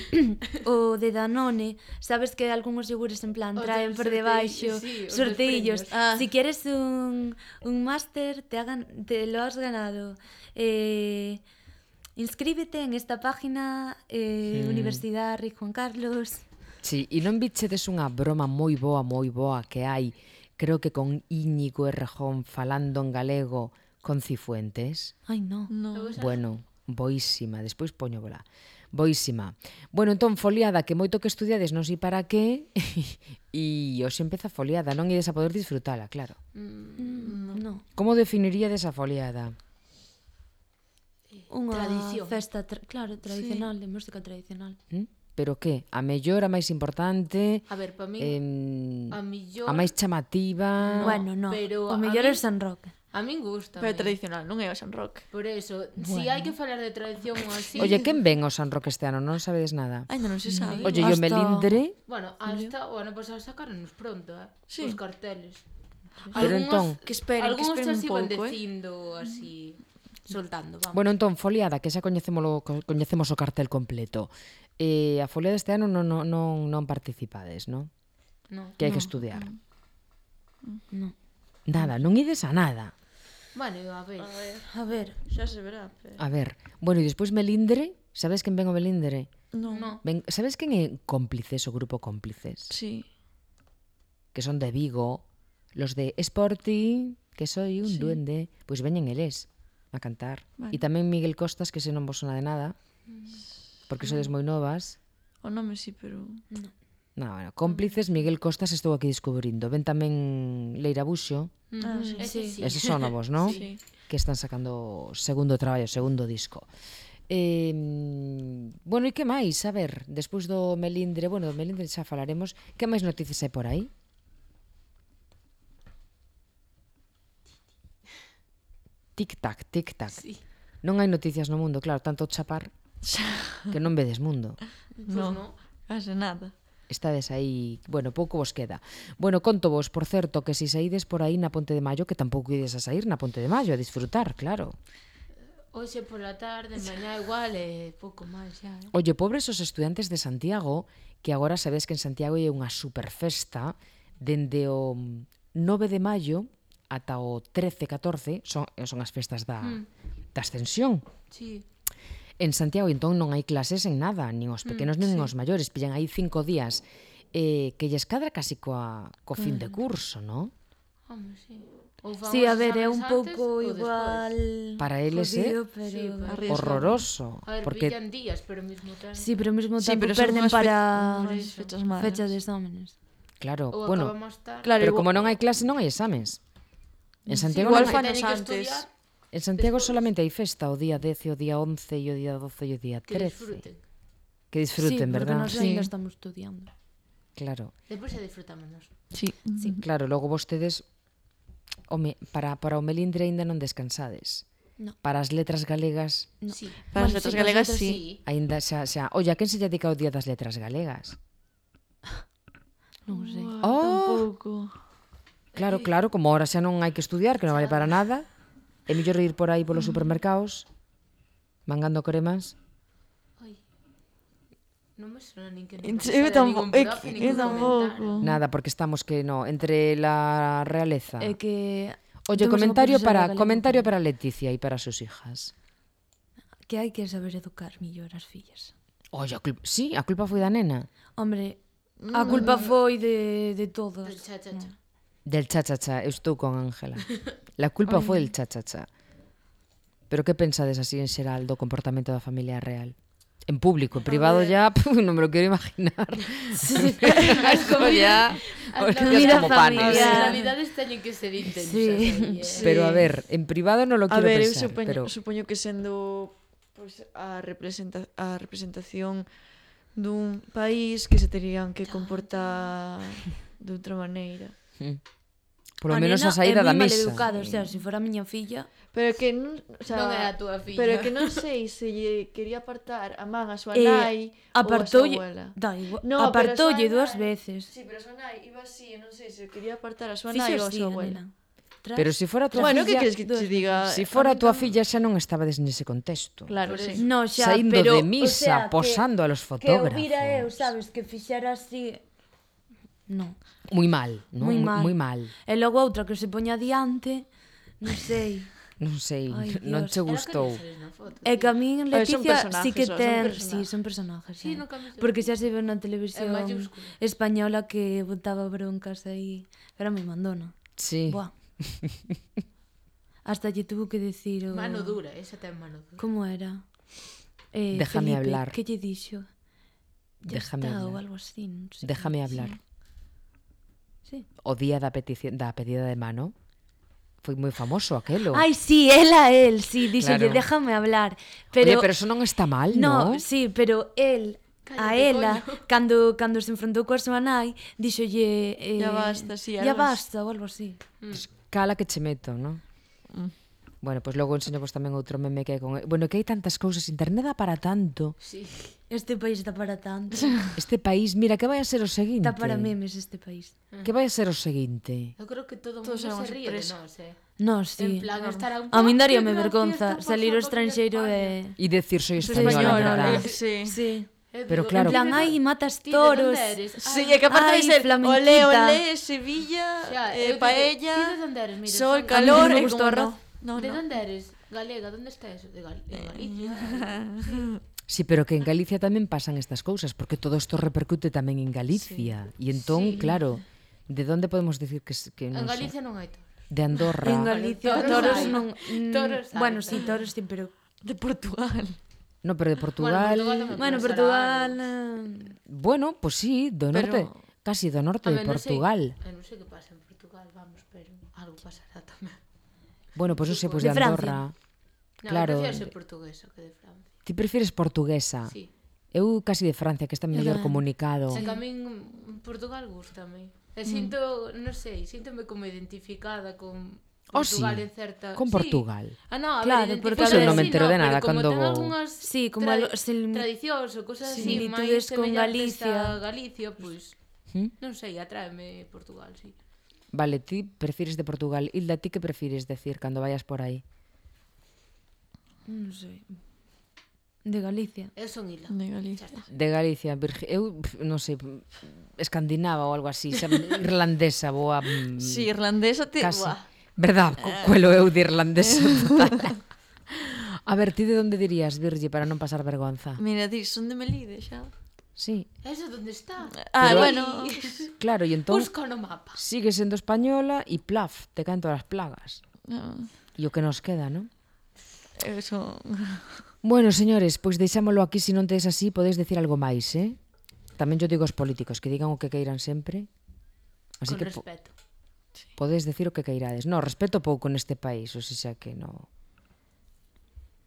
[SPEAKER 4] o de Danone. Sabes que algúns yogures en plan
[SPEAKER 3] Os
[SPEAKER 4] traen
[SPEAKER 3] del
[SPEAKER 4] por
[SPEAKER 3] sortei-
[SPEAKER 4] debaixo
[SPEAKER 3] sí, os dos
[SPEAKER 4] sorteillos.
[SPEAKER 3] premios.
[SPEAKER 5] Ah.
[SPEAKER 4] Si quieres un, un máster, te, hagan, te lo has ganado. Eh, inscríbete en esta página eh,
[SPEAKER 2] Hmm.
[SPEAKER 4] Universidad Rey Juan Carlos.
[SPEAKER 2] Sí, e non bichedes unha broma moi boa, moi boa que hai, creo que con Íñigo Errejón falando en galego con Cifuentes?
[SPEAKER 4] Ai, no.
[SPEAKER 5] No.
[SPEAKER 2] Bueno, boísima, despois poño bola. Boísima. Bueno, entón, foliada, que moito que estudiades non sei para qué, e hoxe empeza a foliada, non ides a poder disfrutala, claro.
[SPEAKER 4] Mm, no.
[SPEAKER 2] Como definiríades a foliada?
[SPEAKER 4] Unha
[SPEAKER 3] Tradición.
[SPEAKER 4] festa, tra claro, tradicional, de música tradicional.
[SPEAKER 2] ¿Mm? Pero que? A mellor, a máis importante,
[SPEAKER 3] A ver, para mí,
[SPEAKER 2] eh,
[SPEAKER 3] a millor...
[SPEAKER 2] a máis chamativa...
[SPEAKER 3] No,
[SPEAKER 4] Bueno, no.
[SPEAKER 3] pero
[SPEAKER 4] o
[SPEAKER 3] a
[SPEAKER 4] mellor é
[SPEAKER 3] min-
[SPEAKER 4] o San Roque.
[SPEAKER 3] A min gusta.
[SPEAKER 5] Pero tradicional, non é o San Roque.
[SPEAKER 3] Por eso, si hai que falar de tradición ou así...
[SPEAKER 2] Oye, quen ven o San Roque este ano? Non sabedes nada.
[SPEAKER 5] Ainda non se sabe.
[SPEAKER 2] Oye, yo
[SPEAKER 4] Hasta-
[SPEAKER 2] melindre...
[SPEAKER 3] Bueno, hasta o ano pasado sacaronos pronto, eh?
[SPEAKER 5] Sí.
[SPEAKER 3] Os carteles.
[SPEAKER 2] Pero entón-
[SPEAKER 5] Que esperen, que
[SPEAKER 3] Algunos
[SPEAKER 5] esperen
[SPEAKER 3] xa se
[SPEAKER 5] un
[SPEAKER 3] iban
[SPEAKER 5] pouco, eh.
[SPEAKER 3] dicindo así, soltando, vamos.
[SPEAKER 2] Bueno, entón, foliada, que xa coñecémolo, co- coñecemos o cartel completo. Eh, a foliada este ano non, non, non, non participades, non?
[SPEAKER 3] No.
[SPEAKER 2] Que hai que estudiar.
[SPEAKER 4] No.
[SPEAKER 2] Nada, non ides a nada.
[SPEAKER 3] Bueno, a ver.
[SPEAKER 5] A ver,
[SPEAKER 4] A ver,
[SPEAKER 5] xa se verá. Pero...
[SPEAKER 2] A ver, bueno, e despois melindre, sabes quen ven o melindre?
[SPEAKER 5] Non.
[SPEAKER 3] No.
[SPEAKER 2] Ben, sabes quen é Cómplices, o grupo Cómplices?
[SPEAKER 5] Sí.
[SPEAKER 2] Que son de Vigo, los de Sporty, que soy un
[SPEAKER 5] Sí.
[SPEAKER 2] duende, pois veñen eles a cantar.
[SPEAKER 5] Vale.
[SPEAKER 2] E tamén Miguel Costas, que se non vos sona de nada, porque sodes moi novas.
[SPEAKER 5] O nome sí, pero...
[SPEAKER 2] No, bueno, Cómplices, Miguel Costas estou aquí descubrindo. Ven tamén Leira Buxo,
[SPEAKER 5] Ah, sí.
[SPEAKER 3] Ese sí.
[SPEAKER 2] eses son novos, non?
[SPEAKER 5] Sí.
[SPEAKER 2] Que están sacando segundo traballo, segundo disco. Eh, bueno, e que máis? A ver, despois do melindre, bueno, do melindre xa falaremos. Que máis noticias hai por aí? Tic-tac, tic-tac.
[SPEAKER 3] Sí.
[SPEAKER 2] Non hai noticias no mundo, claro, tanto chapar que non vedes mundo.
[SPEAKER 3] Pues
[SPEAKER 5] No.
[SPEAKER 3] no.
[SPEAKER 5] Case nada.
[SPEAKER 2] Estades aí, bueno, pouco vos queda. Bueno, conto vos, por certo, que si saídes por aí na Ponte de Maio, que tampouco ides a sair na Ponte de Maio, a disfrutar, claro.
[SPEAKER 3] Hoxe pola tarde, mañá igual, e pouco máis xa. Eh?
[SPEAKER 2] Oye, pobres os estudantes de Santiago, que agora sabes que en Santiago hai unha superfesta dende o nove de maio ata o trece, catorce, son, son as festas da,
[SPEAKER 3] Mm.
[SPEAKER 2] da ascensión.
[SPEAKER 3] Sí.
[SPEAKER 2] En Santiago, entón, non hai clases en nada, nin os pequenos nin os maiores, pillan aí cinco días, eh, que lles cadra casi coa, co fin de curso, non?
[SPEAKER 3] Home, sí. Ou fan
[SPEAKER 4] sí,
[SPEAKER 3] os
[SPEAKER 4] a ver, é
[SPEAKER 3] exames
[SPEAKER 4] un
[SPEAKER 3] antes
[SPEAKER 4] pouco
[SPEAKER 3] ou
[SPEAKER 4] igual
[SPEAKER 3] despois.
[SPEAKER 2] Para eles é
[SPEAKER 4] jodido, pero...
[SPEAKER 3] Sí, pero-
[SPEAKER 5] Arriesgado.
[SPEAKER 2] horroroso,
[SPEAKER 3] A ver,
[SPEAKER 2] porque
[SPEAKER 3] pillan días, pero ao mesmo tempo...
[SPEAKER 4] Sí, pero ao mesmo
[SPEAKER 5] Sí,
[SPEAKER 4] tempo
[SPEAKER 5] pero son
[SPEAKER 4] perden
[SPEAKER 5] unhas fe-
[SPEAKER 4] para
[SPEAKER 5] unhas fechas malas.
[SPEAKER 4] fecha de exámenes.
[SPEAKER 2] claro,
[SPEAKER 3] Ou
[SPEAKER 2] bueno,
[SPEAKER 3] acaba máis tarde.
[SPEAKER 5] Claro,
[SPEAKER 2] pero
[SPEAKER 5] igual-
[SPEAKER 2] como non hai clase, non hai exames. En Santiago
[SPEAKER 5] igual
[SPEAKER 2] non hai,
[SPEAKER 5] fanos
[SPEAKER 3] Teñen que
[SPEAKER 5] antes.
[SPEAKER 3] estudiar,
[SPEAKER 2] en Santiago solamente hai festa o día dez, e o día once, e o día doce e o día
[SPEAKER 3] que
[SPEAKER 2] trece.
[SPEAKER 3] disfruten.
[SPEAKER 2] Que disfruten,
[SPEAKER 4] sí,
[SPEAKER 2] verdad?
[SPEAKER 4] porque nos ainda estamos estudiando.
[SPEAKER 2] Claro.
[SPEAKER 3] Despois se disfrutamos nós.
[SPEAKER 5] Sí.
[SPEAKER 4] Sí.
[SPEAKER 2] Claro, logo vostedes home, para, para o melindre aínda non descansades.
[SPEAKER 4] No.
[SPEAKER 2] Para as letras galegas
[SPEAKER 4] No.
[SPEAKER 3] Sí.
[SPEAKER 5] Para as
[SPEAKER 4] Bueno,
[SPEAKER 5] letras
[SPEAKER 4] sí,
[SPEAKER 5] galegas,
[SPEAKER 3] Nosotros
[SPEAKER 5] sí.
[SPEAKER 2] aínda xa, xa... Oye, a quen se lle dedica o día das letras galegas?
[SPEAKER 4] Non sei.
[SPEAKER 2] Oh,
[SPEAKER 5] Tampouco.
[SPEAKER 2] claro, claro, como ahora xa non hai que estudiar, que non vale para nada, é mellor ir por aí polos supermercados mangando cremas.
[SPEAKER 3] Ai. Non me sona nin que
[SPEAKER 5] Eu
[SPEAKER 3] non
[SPEAKER 5] tampouco,
[SPEAKER 3] ningún
[SPEAKER 5] eu
[SPEAKER 3] profe, nin
[SPEAKER 5] eu
[SPEAKER 3] que
[SPEAKER 5] tampouco.
[SPEAKER 2] Nada, porque estamos que no, entre la realeza.
[SPEAKER 4] É que...
[SPEAKER 2] Oye,
[SPEAKER 4] temos unha
[SPEAKER 2] comentario
[SPEAKER 4] profesora
[SPEAKER 2] para
[SPEAKER 4] de galego
[SPEAKER 2] comentario
[SPEAKER 4] que-
[SPEAKER 2] para Leticia e para sus hijas.
[SPEAKER 4] Que hai que saber educar millor as fillas.
[SPEAKER 2] Oye, a culpa, sí, a culpa foi da nena.
[SPEAKER 4] Hombre, a culpa foi de, de todos.
[SPEAKER 3] Del cha, cha, cha.
[SPEAKER 2] Del cha-cha-cha, eu estou con Ángela. La culpa foi del cha-cha-cha. Pero que pensades así en xeral do comportamento da familia real? En público, en privado ya, puf, non me lo quero imaginar.
[SPEAKER 3] As comidas,
[SPEAKER 2] Os
[SPEAKER 3] as
[SPEAKER 2] días
[SPEAKER 3] comidas
[SPEAKER 2] como panes.
[SPEAKER 3] As
[SPEAKER 4] familiares.
[SPEAKER 3] navidades teñen que ser intensas.
[SPEAKER 4] Sí.
[SPEAKER 3] aí, eh.
[SPEAKER 2] Pero a ver, en privado non lo
[SPEAKER 5] A
[SPEAKER 2] quero
[SPEAKER 5] ver, eu
[SPEAKER 2] pensar,
[SPEAKER 5] supoño,
[SPEAKER 2] pero
[SPEAKER 5] supoño que sendo pois, a, representa a representación dun país que se terían que comportar de outra maneira.
[SPEAKER 2] mm, polo
[SPEAKER 4] A
[SPEAKER 2] menos a
[SPEAKER 4] nena
[SPEAKER 2] saída
[SPEAKER 4] é
[SPEAKER 2] da
[SPEAKER 4] moi
[SPEAKER 2] mesa.
[SPEAKER 4] maleducada, o sea, se fora a miña filla...
[SPEAKER 5] Pero que non, o sea,
[SPEAKER 3] Non é a túa filla.
[SPEAKER 5] Pero que non sei se lle quería apartar a man a súa
[SPEAKER 4] Eh,
[SPEAKER 5] nai ou a súa
[SPEAKER 4] apartoulle,
[SPEAKER 5] abuela.
[SPEAKER 4] da igual,
[SPEAKER 5] No, pero a
[SPEAKER 4] apartoulle
[SPEAKER 5] súa
[SPEAKER 4] dúas
[SPEAKER 5] nai-
[SPEAKER 4] veces.
[SPEAKER 5] Sí, pero a súa nai iba así, e non sei se quería apartar a súa
[SPEAKER 4] Fixo
[SPEAKER 5] nai ou a
[SPEAKER 4] así,
[SPEAKER 5] súa
[SPEAKER 4] a
[SPEAKER 5] abuela.
[SPEAKER 4] nena. Tras,
[SPEAKER 2] Pero se fora a tua
[SPEAKER 5] Bueno, que
[SPEAKER 2] filla,
[SPEAKER 5] queres que te diga?
[SPEAKER 2] se fora a tua filla xa non estabades nese contexto.
[SPEAKER 5] Claro,
[SPEAKER 3] Por
[SPEAKER 5] sí.
[SPEAKER 3] eso.
[SPEAKER 4] No, xa,
[SPEAKER 2] Saindo
[SPEAKER 4] pero,
[SPEAKER 2] de misa,
[SPEAKER 4] o sea, que-
[SPEAKER 2] posando a los
[SPEAKER 4] Que o
[SPEAKER 2] fotógrafos.
[SPEAKER 4] vira eu, sabes, que fixera así... No,
[SPEAKER 2] Moi mal, non?
[SPEAKER 4] moi mal.
[SPEAKER 2] Moi mal.
[SPEAKER 4] E logo outra que se poña diante, non sei.
[SPEAKER 2] Non sei,
[SPEAKER 4] Ai,
[SPEAKER 2] non
[SPEAKER 4] Dios.
[SPEAKER 2] che
[SPEAKER 3] Era que
[SPEAKER 2] gustou.
[SPEAKER 3] non sales na foto.
[SPEAKER 4] É que a min
[SPEAKER 5] A ver, son
[SPEAKER 4] Leticia
[SPEAKER 5] personajes,
[SPEAKER 4] sí que
[SPEAKER 5] son
[SPEAKER 4] ten,
[SPEAKER 5] personajes.
[SPEAKER 4] sí, son personajes.
[SPEAKER 3] Sí,
[SPEAKER 4] eh.
[SPEAKER 3] no cambies de-
[SPEAKER 4] Porque xa se ve na televisión
[SPEAKER 3] En mayúscula.
[SPEAKER 4] española que botaba broncas aí, era moi mandona.
[SPEAKER 2] Sí.
[SPEAKER 4] Buah. Hasta lle tuvo que decir o...
[SPEAKER 3] Mano dura, esa ten mano dura.
[SPEAKER 4] Como era? Eh,
[SPEAKER 2] Déjame
[SPEAKER 4] Felipe,
[SPEAKER 2] hablar.
[SPEAKER 4] que lle dixo? Ya
[SPEAKER 2] Déjame
[SPEAKER 4] está, ou
[SPEAKER 2] hablar.
[SPEAKER 4] algo así, non sei.
[SPEAKER 2] Déjame hablar.
[SPEAKER 4] Sí.
[SPEAKER 2] O día da petición da pedida de mano foi moi famoso aquelo.
[SPEAKER 4] Ai, sí, ela, el, sí, díxolle,
[SPEAKER 2] Claro.
[SPEAKER 4] déjame hablar.
[SPEAKER 2] Pero,
[SPEAKER 4] Pero,
[SPEAKER 2] Oye, pero eso non está mal,
[SPEAKER 4] no,
[SPEAKER 2] ¿no?
[SPEAKER 4] sí, pero el a
[SPEAKER 3] Cállate,
[SPEAKER 4] ela,
[SPEAKER 3] coño.
[SPEAKER 4] cando cando se enfrontou coa súa nai, díxolle eh,
[SPEAKER 5] Ya basta, sí,
[SPEAKER 4] ya
[SPEAKER 5] algo
[SPEAKER 4] basta, ou algo así.
[SPEAKER 2] Pues cala que che meto, ¿no?
[SPEAKER 5] Mm.
[SPEAKER 2] Bueno, pois pues logo enseño tamén outro meme que hai con... Bueno, que hai tantas cousas, internet dá para tanto.
[SPEAKER 3] Sí.
[SPEAKER 4] Este país está para tanto.
[SPEAKER 2] Este país, mira, que vai a ser o seguinte?
[SPEAKER 4] Está para memes este país.
[SPEAKER 2] Que vai a ser o seguinte?
[SPEAKER 3] Eu creo que todo o
[SPEAKER 5] Todos
[SPEAKER 3] mundo
[SPEAKER 5] éramos
[SPEAKER 3] se ríe de
[SPEAKER 5] sorpresa.
[SPEAKER 3] nós, eh.
[SPEAKER 4] No,
[SPEAKER 3] En
[SPEAKER 4] sí.
[SPEAKER 3] plan, estará un...
[SPEAKER 4] A min
[SPEAKER 3] "Ah,
[SPEAKER 4] daríame
[SPEAKER 3] qué
[SPEAKER 4] vergonza
[SPEAKER 3] gracia, está
[SPEAKER 4] salir ao
[SPEAKER 3] pasando aquí en
[SPEAKER 4] estranxeiro
[SPEAKER 3] España".
[SPEAKER 4] e...
[SPEAKER 2] E decir soy
[SPEAKER 4] Soy
[SPEAKER 2] española,
[SPEAKER 4] española,
[SPEAKER 2] verdad?
[SPEAKER 5] Eh, sí.
[SPEAKER 4] Sí.
[SPEAKER 3] Eu
[SPEAKER 2] Pero
[SPEAKER 3] digo,
[SPEAKER 2] claro-
[SPEAKER 3] "Ti
[SPEAKER 4] En plan,
[SPEAKER 3] de
[SPEAKER 4] ai,
[SPEAKER 3] dónde-
[SPEAKER 4] matas
[SPEAKER 3] ti de
[SPEAKER 4] toros.
[SPEAKER 3] dónde eres?"
[SPEAKER 5] Sí,
[SPEAKER 3] Ai,
[SPEAKER 5] é que aparte
[SPEAKER 4] Ai,
[SPEAKER 5] de ser
[SPEAKER 4] flamenquita.
[SPEAKER 5] olé, olé, Sevilla,
[SPEAKER 3] xa,
[SPEAKER 5] eh,
[SPEAKER 3] eu digo,
[SPEAKER 5] paella,
[SPEAKER 3] "Ti de donde eres? Mira,
[SPEAKER 5] sol,
[SPEAKER 3] son-
[SPEAKER 5] calor,
[SPEAKER 4] A mí non me
[SPEAKER 5] e
[SPEAKER 4] gustou
[SPEAKER 5] como
[SPEAKER 4] o arroz.
[SPEAKER 5] no. No,
[SPEAKER 3] ¿De
[SPEAKER 5] no.
[SPEAKER 3] dónde eres? Galega, ¿dónde está eso? De, Gal de Galicia.
[SPEAKER 2] Sí, pero que en Galicia tamén pasan estas cousas, porque todo isto repercute tamén en Galicia. E entón,
[SPEAKER 3] Sí.
[SPEAKER 2] claro, de onde podemos decir que, s- que
[SPEAKER 3] En
[SPEAKER 2] non sei?
[SPEAKER 3] Galicia non hai toros.
[SPEAKER 2] De Andorra.
[SPEAKER 4] En Galicia,
[SPEAKER 3] Toros
[SPEAKER 4] toros
[SPEAKER 3] hai.
[SPEAKER 4] non... mm,
[SPEAKER 3] Toros hai.
[SPEAKER 4] Bueno, sí, toros sí, pero...
[SPEAKER 5] De Portugal.
[SPEAKER 2] No, pero de Portugal...
[SPEAKER 3] Bueno, Portugal tamén.
[SPEAKER 4] Bueno,
[SPEAKER 3] Puede ser
[SPEAKER 4] Portugal...
[SPEAKER 3] algo.
[SPEAKER 4] eh,
[SPEAKER 2] Bueno, pues sí, do
[SPEAKER 5] Pero-
[SPEAKER 2] norte, casi do norte
[SPEAKER 3] A
[SPEAKER 2] de
[SPEAKER 3] ver, non sei-
[SPEAKER 2] Portugal.
[SPEAKER 3] eh, non sei que pasa en Portugal, vamos, pero algo pasará tamén.
[SPEAKER 2] Bueno, pues non sei, pues de
[SPEAKER 4] De Francia.
[SPEAKER 2] Andorra.
[SPEAKER 3] No,
[SPEAKER 2] Claro.
[SPEAKER 3] eu prefiero ser portuguesa que de Francia.
[SPEAKER 2] Ti prefires portuguesa?
[SPEAKER 3] Sí.
[SPEAKER 2] Eu casi de Francia, que está mellor
[SPEAKER 4] tamén.
[SPEAKER 2] comunicado.
[SPEAKER 3] É que a min Portugal gustame. E sinto, non sei, síntome como identificada con
[SPEAKER 2] Oh,
[SPEAKER 3] Portugal
[SPEAKER 2] sí.
[SPEAKER 3] en certa...
[SPEAKER 2] Con
[SPEAKER 3] Sí.
[SPEAKER 2] Portugal.
[SPEAKER 3] Ah, no, a
[SPEAKER 4] Claro,
[SPEAKER 3] ver,
[SPEAKER 4] porque
[SPEAKER 2] Pois eu non me
[SPEAKER 3] sí,
[SPEAKER 2] entero de
[SPEAKER 3] pero
[SPEAKER 2] nada
[SPEAKER 3] como
[SPEAKER 2] cando
[SPEAKER 3] ten
[SPEAKER 2] vou.
[SPEAKER 3] algunhas
[SPEAKER 4] Sí, como
[SPEAKER 3] tra
[SPEAKER 4] algo- se-
[SPEAKER 3] tradicións ou cosas así,
[SPEAKER 4] similitudes
[SPEAKER 3] máis
[SPEAKER 4] con
[SPEAKER 3] semellantes
[SPEAKER 4] Galicia.
[SPEAKER 3] a Galicia, pois,
[SPEAKER 2] ¿Mm?
[SPEAKER 3] non sei, atráeme Portugal, sí.
[SPEAKER 2] Vale, ti prefires de Portugal. Hilda, ti que prefires decir cando vayas por aí?
[SPEAKER 4] Non sei. De Galicia.
[SPEAKER 3] Eu son Ila.
[SPEAKER 5] De Galicia.
[SPEAKER 2] De Galicia, Virgi... eu pf, non sei, escandinava ou algo así, xa, irlandesa, boa... mm,
[SPEAKER 5] Sí, irlandesa te...
[SPEAKER 2] casi.
[SPEAKER 5] Buah.
[SPEAKER 2] Verdad, cu cuelo eu de irlandesa total. A ver, ti de onde dirías, Virgi, para non pasar vergonza?
[SPEAKER 5] Mira, di, son de Melide xa.
[SPEAKER 2] Sí,
[SPEAKER 3] Eso onde está?
[SPEAKER 5] Ah,
[SPEAKER 2] Pero-
[SPEAKER 5] bueno.
[SPEAKER 2] claro, e entón
[SPEAKER 3] Busca no mapa.
[SPEAKER 2] sigue sendo española e plaf, te caen todas as plagas.
[SPEAKER 5] No,
[SPEAKER 2] E o que nos queda, non?
[SPEAKER 5] eso...
[SPEAKER 2] Bueno, señores, pois deixámolo aquí, se non tedes así, podedes decir algo máis, eh? Tamén yo digo aos políticos que digan o que queiran sempre. Así
[SPEAKER 3] Con
[SPEAKER 2] que po
[SPEAKER 3] respeto.
[SPEAKER 2] podedes decir o que queirades. No, respeto pouco neste país, ou seja que no...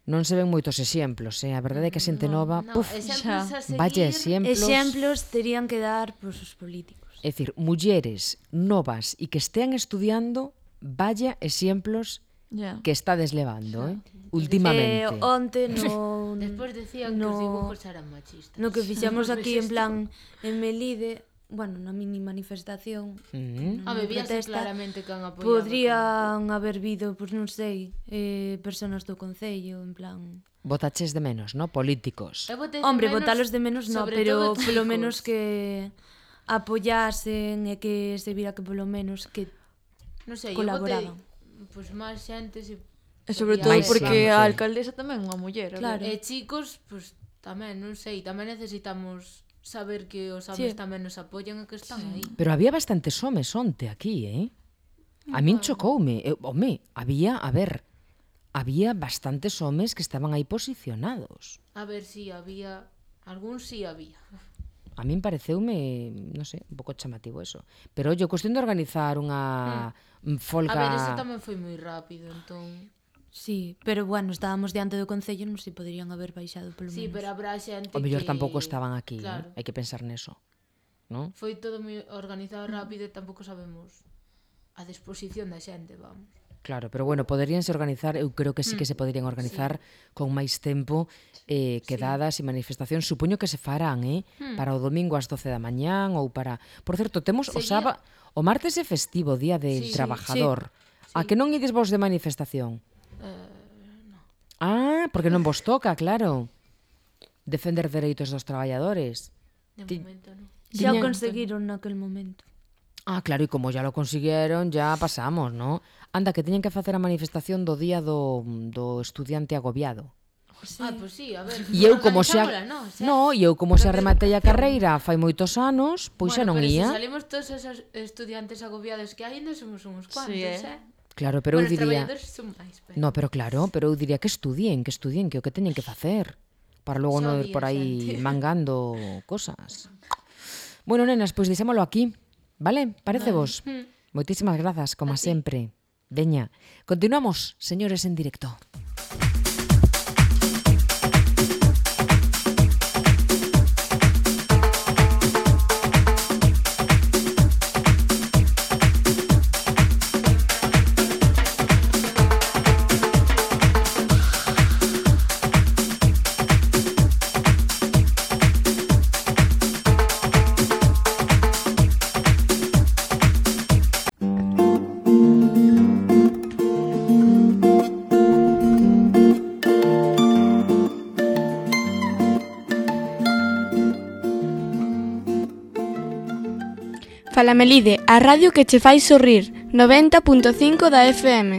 [SPEAKER 2] Non se ven moitos exemplos, eh? A verdade é que a xente nova,
[SPEAKER 3] No,
[SPEAKER 2] puf,
[SPEAKER 3] exemplos a seguir.
[SPEAKER 2] vaya exemplos.
[SPEAKER 4] Exemplos terían que dar pois, os políticos.
[SPEAKER 2] É dicir, mulleres novas e que estean estudiando, vaya exemplos
[SPEAKER 5] Ya.
[SPEAKER 2] que estades levando, eh?
[SPEAKER 4] Eh,
[SPEAKER 2] Últimamente.
[SPEAKER 4] onte no...
[SPEAKER 3] Despois decían que
[SPEAKER 4] no,
[SPEAKER 3] os dibujos eran machistas.
[SPEAKER 4] no que fixemos aquí en plan en Melide, bueno, na mini manifestación,
[SPEAKER 2] Mm.
[SPEAKER 4] na
[SPEAKER 3] A ver,
[SPEAKER 4] mini
[SPEAKER 3] víase
[SPEAKER 4] protesta,
[SPEAKER 3] claramente que han apoiado.
[SPEAKER 4] podrían haber vido, pois non sei, eh, personas do Concello, en plan...
[SPEAKER 2] Votaches de menos, ¿no? Políticos.
[SPEAKER 3] Eu botei de
[SPEAKER 4] Hombre,
[SPEAKER 3] menos,
[SPEAKER 4] votalos de menos no,
[SPEAKER 3] sobre
[SPEAKER 4] pero
[SPEAKER 3] todo
[SPEAKER 4] polo
[SPEAKER 3] chicos.
[SPEAKER 4] menos que apoyasen e que se vira que polo menos que
[SPEAKER 3] Non sei, eu botei
[SPEAKER 4] colaboraban.
[SPEAKER 3] pois máis xente se
[SPEAKER 5] E sobre
[SPEAKER 3] podía
[SPEAKER 5] todo
[SPEAKER 2] Máis
[SPEAKER 3] haber.
[SPEAKER 5] porque
[SPEAKER 2] xente.
[SPEAKER 5] a alcaldesa tamén é unha muller. a
[SPEAKER 4] Claro.
[SPEAKER 5] ver.
[SPEAKER 3] E chicos, pois tamén, non sei, tamén necesitamos saber que os homes
[SPEAKER 4] Sí.
[SPEAKER 3] tamén nos apoian e que están aí.
[SPEAKER 2] Pero había bastantes homes onte aquí, eh? A min chocoume. Eu, home, había, a ver, había bastantes homes que estaban aí posicionados.
[SPEAKER 3] A ver si había, algún si había.
[SPEAKER 2] A min pareceume, non sei, un pouco chamativo eso. Pero, oye, cuestión de organizar unha mm. folga...
[SPEAKER 3] A ver, ese tamén foi moi rápido, entón...
[SPEAKER 4] Sí, pero bueno, estábamos diante do Concello, non sei, poderían haber baixado polo
[SPEAKER 3] Sí,
[SPEAKER 4] menos.
[SPEAKER 3] pero habrá xente
[SPEAKER 2] O mellor
[SPEAKER 3] que...
[SPEAKER 2] tampouco estaban aquí,
[SPEAKER 3] Claro.
[SPEAKER 2] eh? Hai que pensar neso, non?
[SPEAKER 3] Foi todo moi organizado rápido e tampouco sabemos a disposición da xente, vamos.
[SPEAKER 2] Claro, pero bueno, poderíanse organizar, eu creo que sí que se poderían organizar sí. con máis tempo, eh, quedadas sí. e manifestacións, supoño que se farán, eh? Hmm. Para o domingo ás doce da mañán ou para... Por certo, temos o
[SPEAKER 3] Seguía-
[SPEAKER 2] sábado, o martes é festivo, Día del
[SPEAKER 3] Sí,
[SPEAKER 2] Trabajador.
[SPEAKER 3] sí.
[SPEAKER 2] A que non ides vos de manifestación? Ah, porque non vos toca, claro. Defender dereitos dos traballadores.
[SPEAKER 3] De
[SPEAKER 2] Ti-
[SPEAKER 3] momento, non.
[SPEAKER 4] Xa o
[SPEAKER 2] Tiña-
[SPEAKER 4] conseguiron naquel momento.
[SPEAKER 2] Ah, claro, e como ya lo consiguieron, ya pasamos, ¿no? Anda, que teñen que facer a manifestación do día do, do estudiante agobiado.
[SPEAKER 3] Ah, pois sí, a ver.
[SPEAKER 2] E eu como xa...
[SPEAKER 3] organizámola, non? Xa.
[SPEAKER 2] No, e eu como xa rematei a carreira fai moitos anos, pois xa non
[SPEAKER 3] bueno, pero
[SPEAKER 2] ia.
[SPEAKER 3] se salimos todos esos estudiantes agobiados que hai, ainda somos uns cuantos,
[SPEAKER 5] Sí,
[SPEAKER 3] eh?
[SPEAKER 5] eh.
[SPEAKER 2] Claro, pero eu
[SPEAKER 3] bueno, os
[SPEAKER 2] diría...
[SPEAKER 3] traballadores son máis, pero...
[SPEAKER 2] No, pero claro, pero eu diría que estudien, que estudien, que é o que teñen que facer. Para logo
[SPEAKER 3] Xa
[SPEAKER 2] non ir
[SPEAKER 3] había
[SPEAKER 2] por aí
[SPEAKER 3] xente.
[SPEAKER 2] mangando cosas. Bueno, nenas, pois deixémolo aquí, vale? Parece vos? Moitísimas grazas, como sempre. Veña, continuamos, señores, en directo.
[SPEAKER 1] Fala Melide, a radio que che fai sorrir, noventa punto cinco da F M.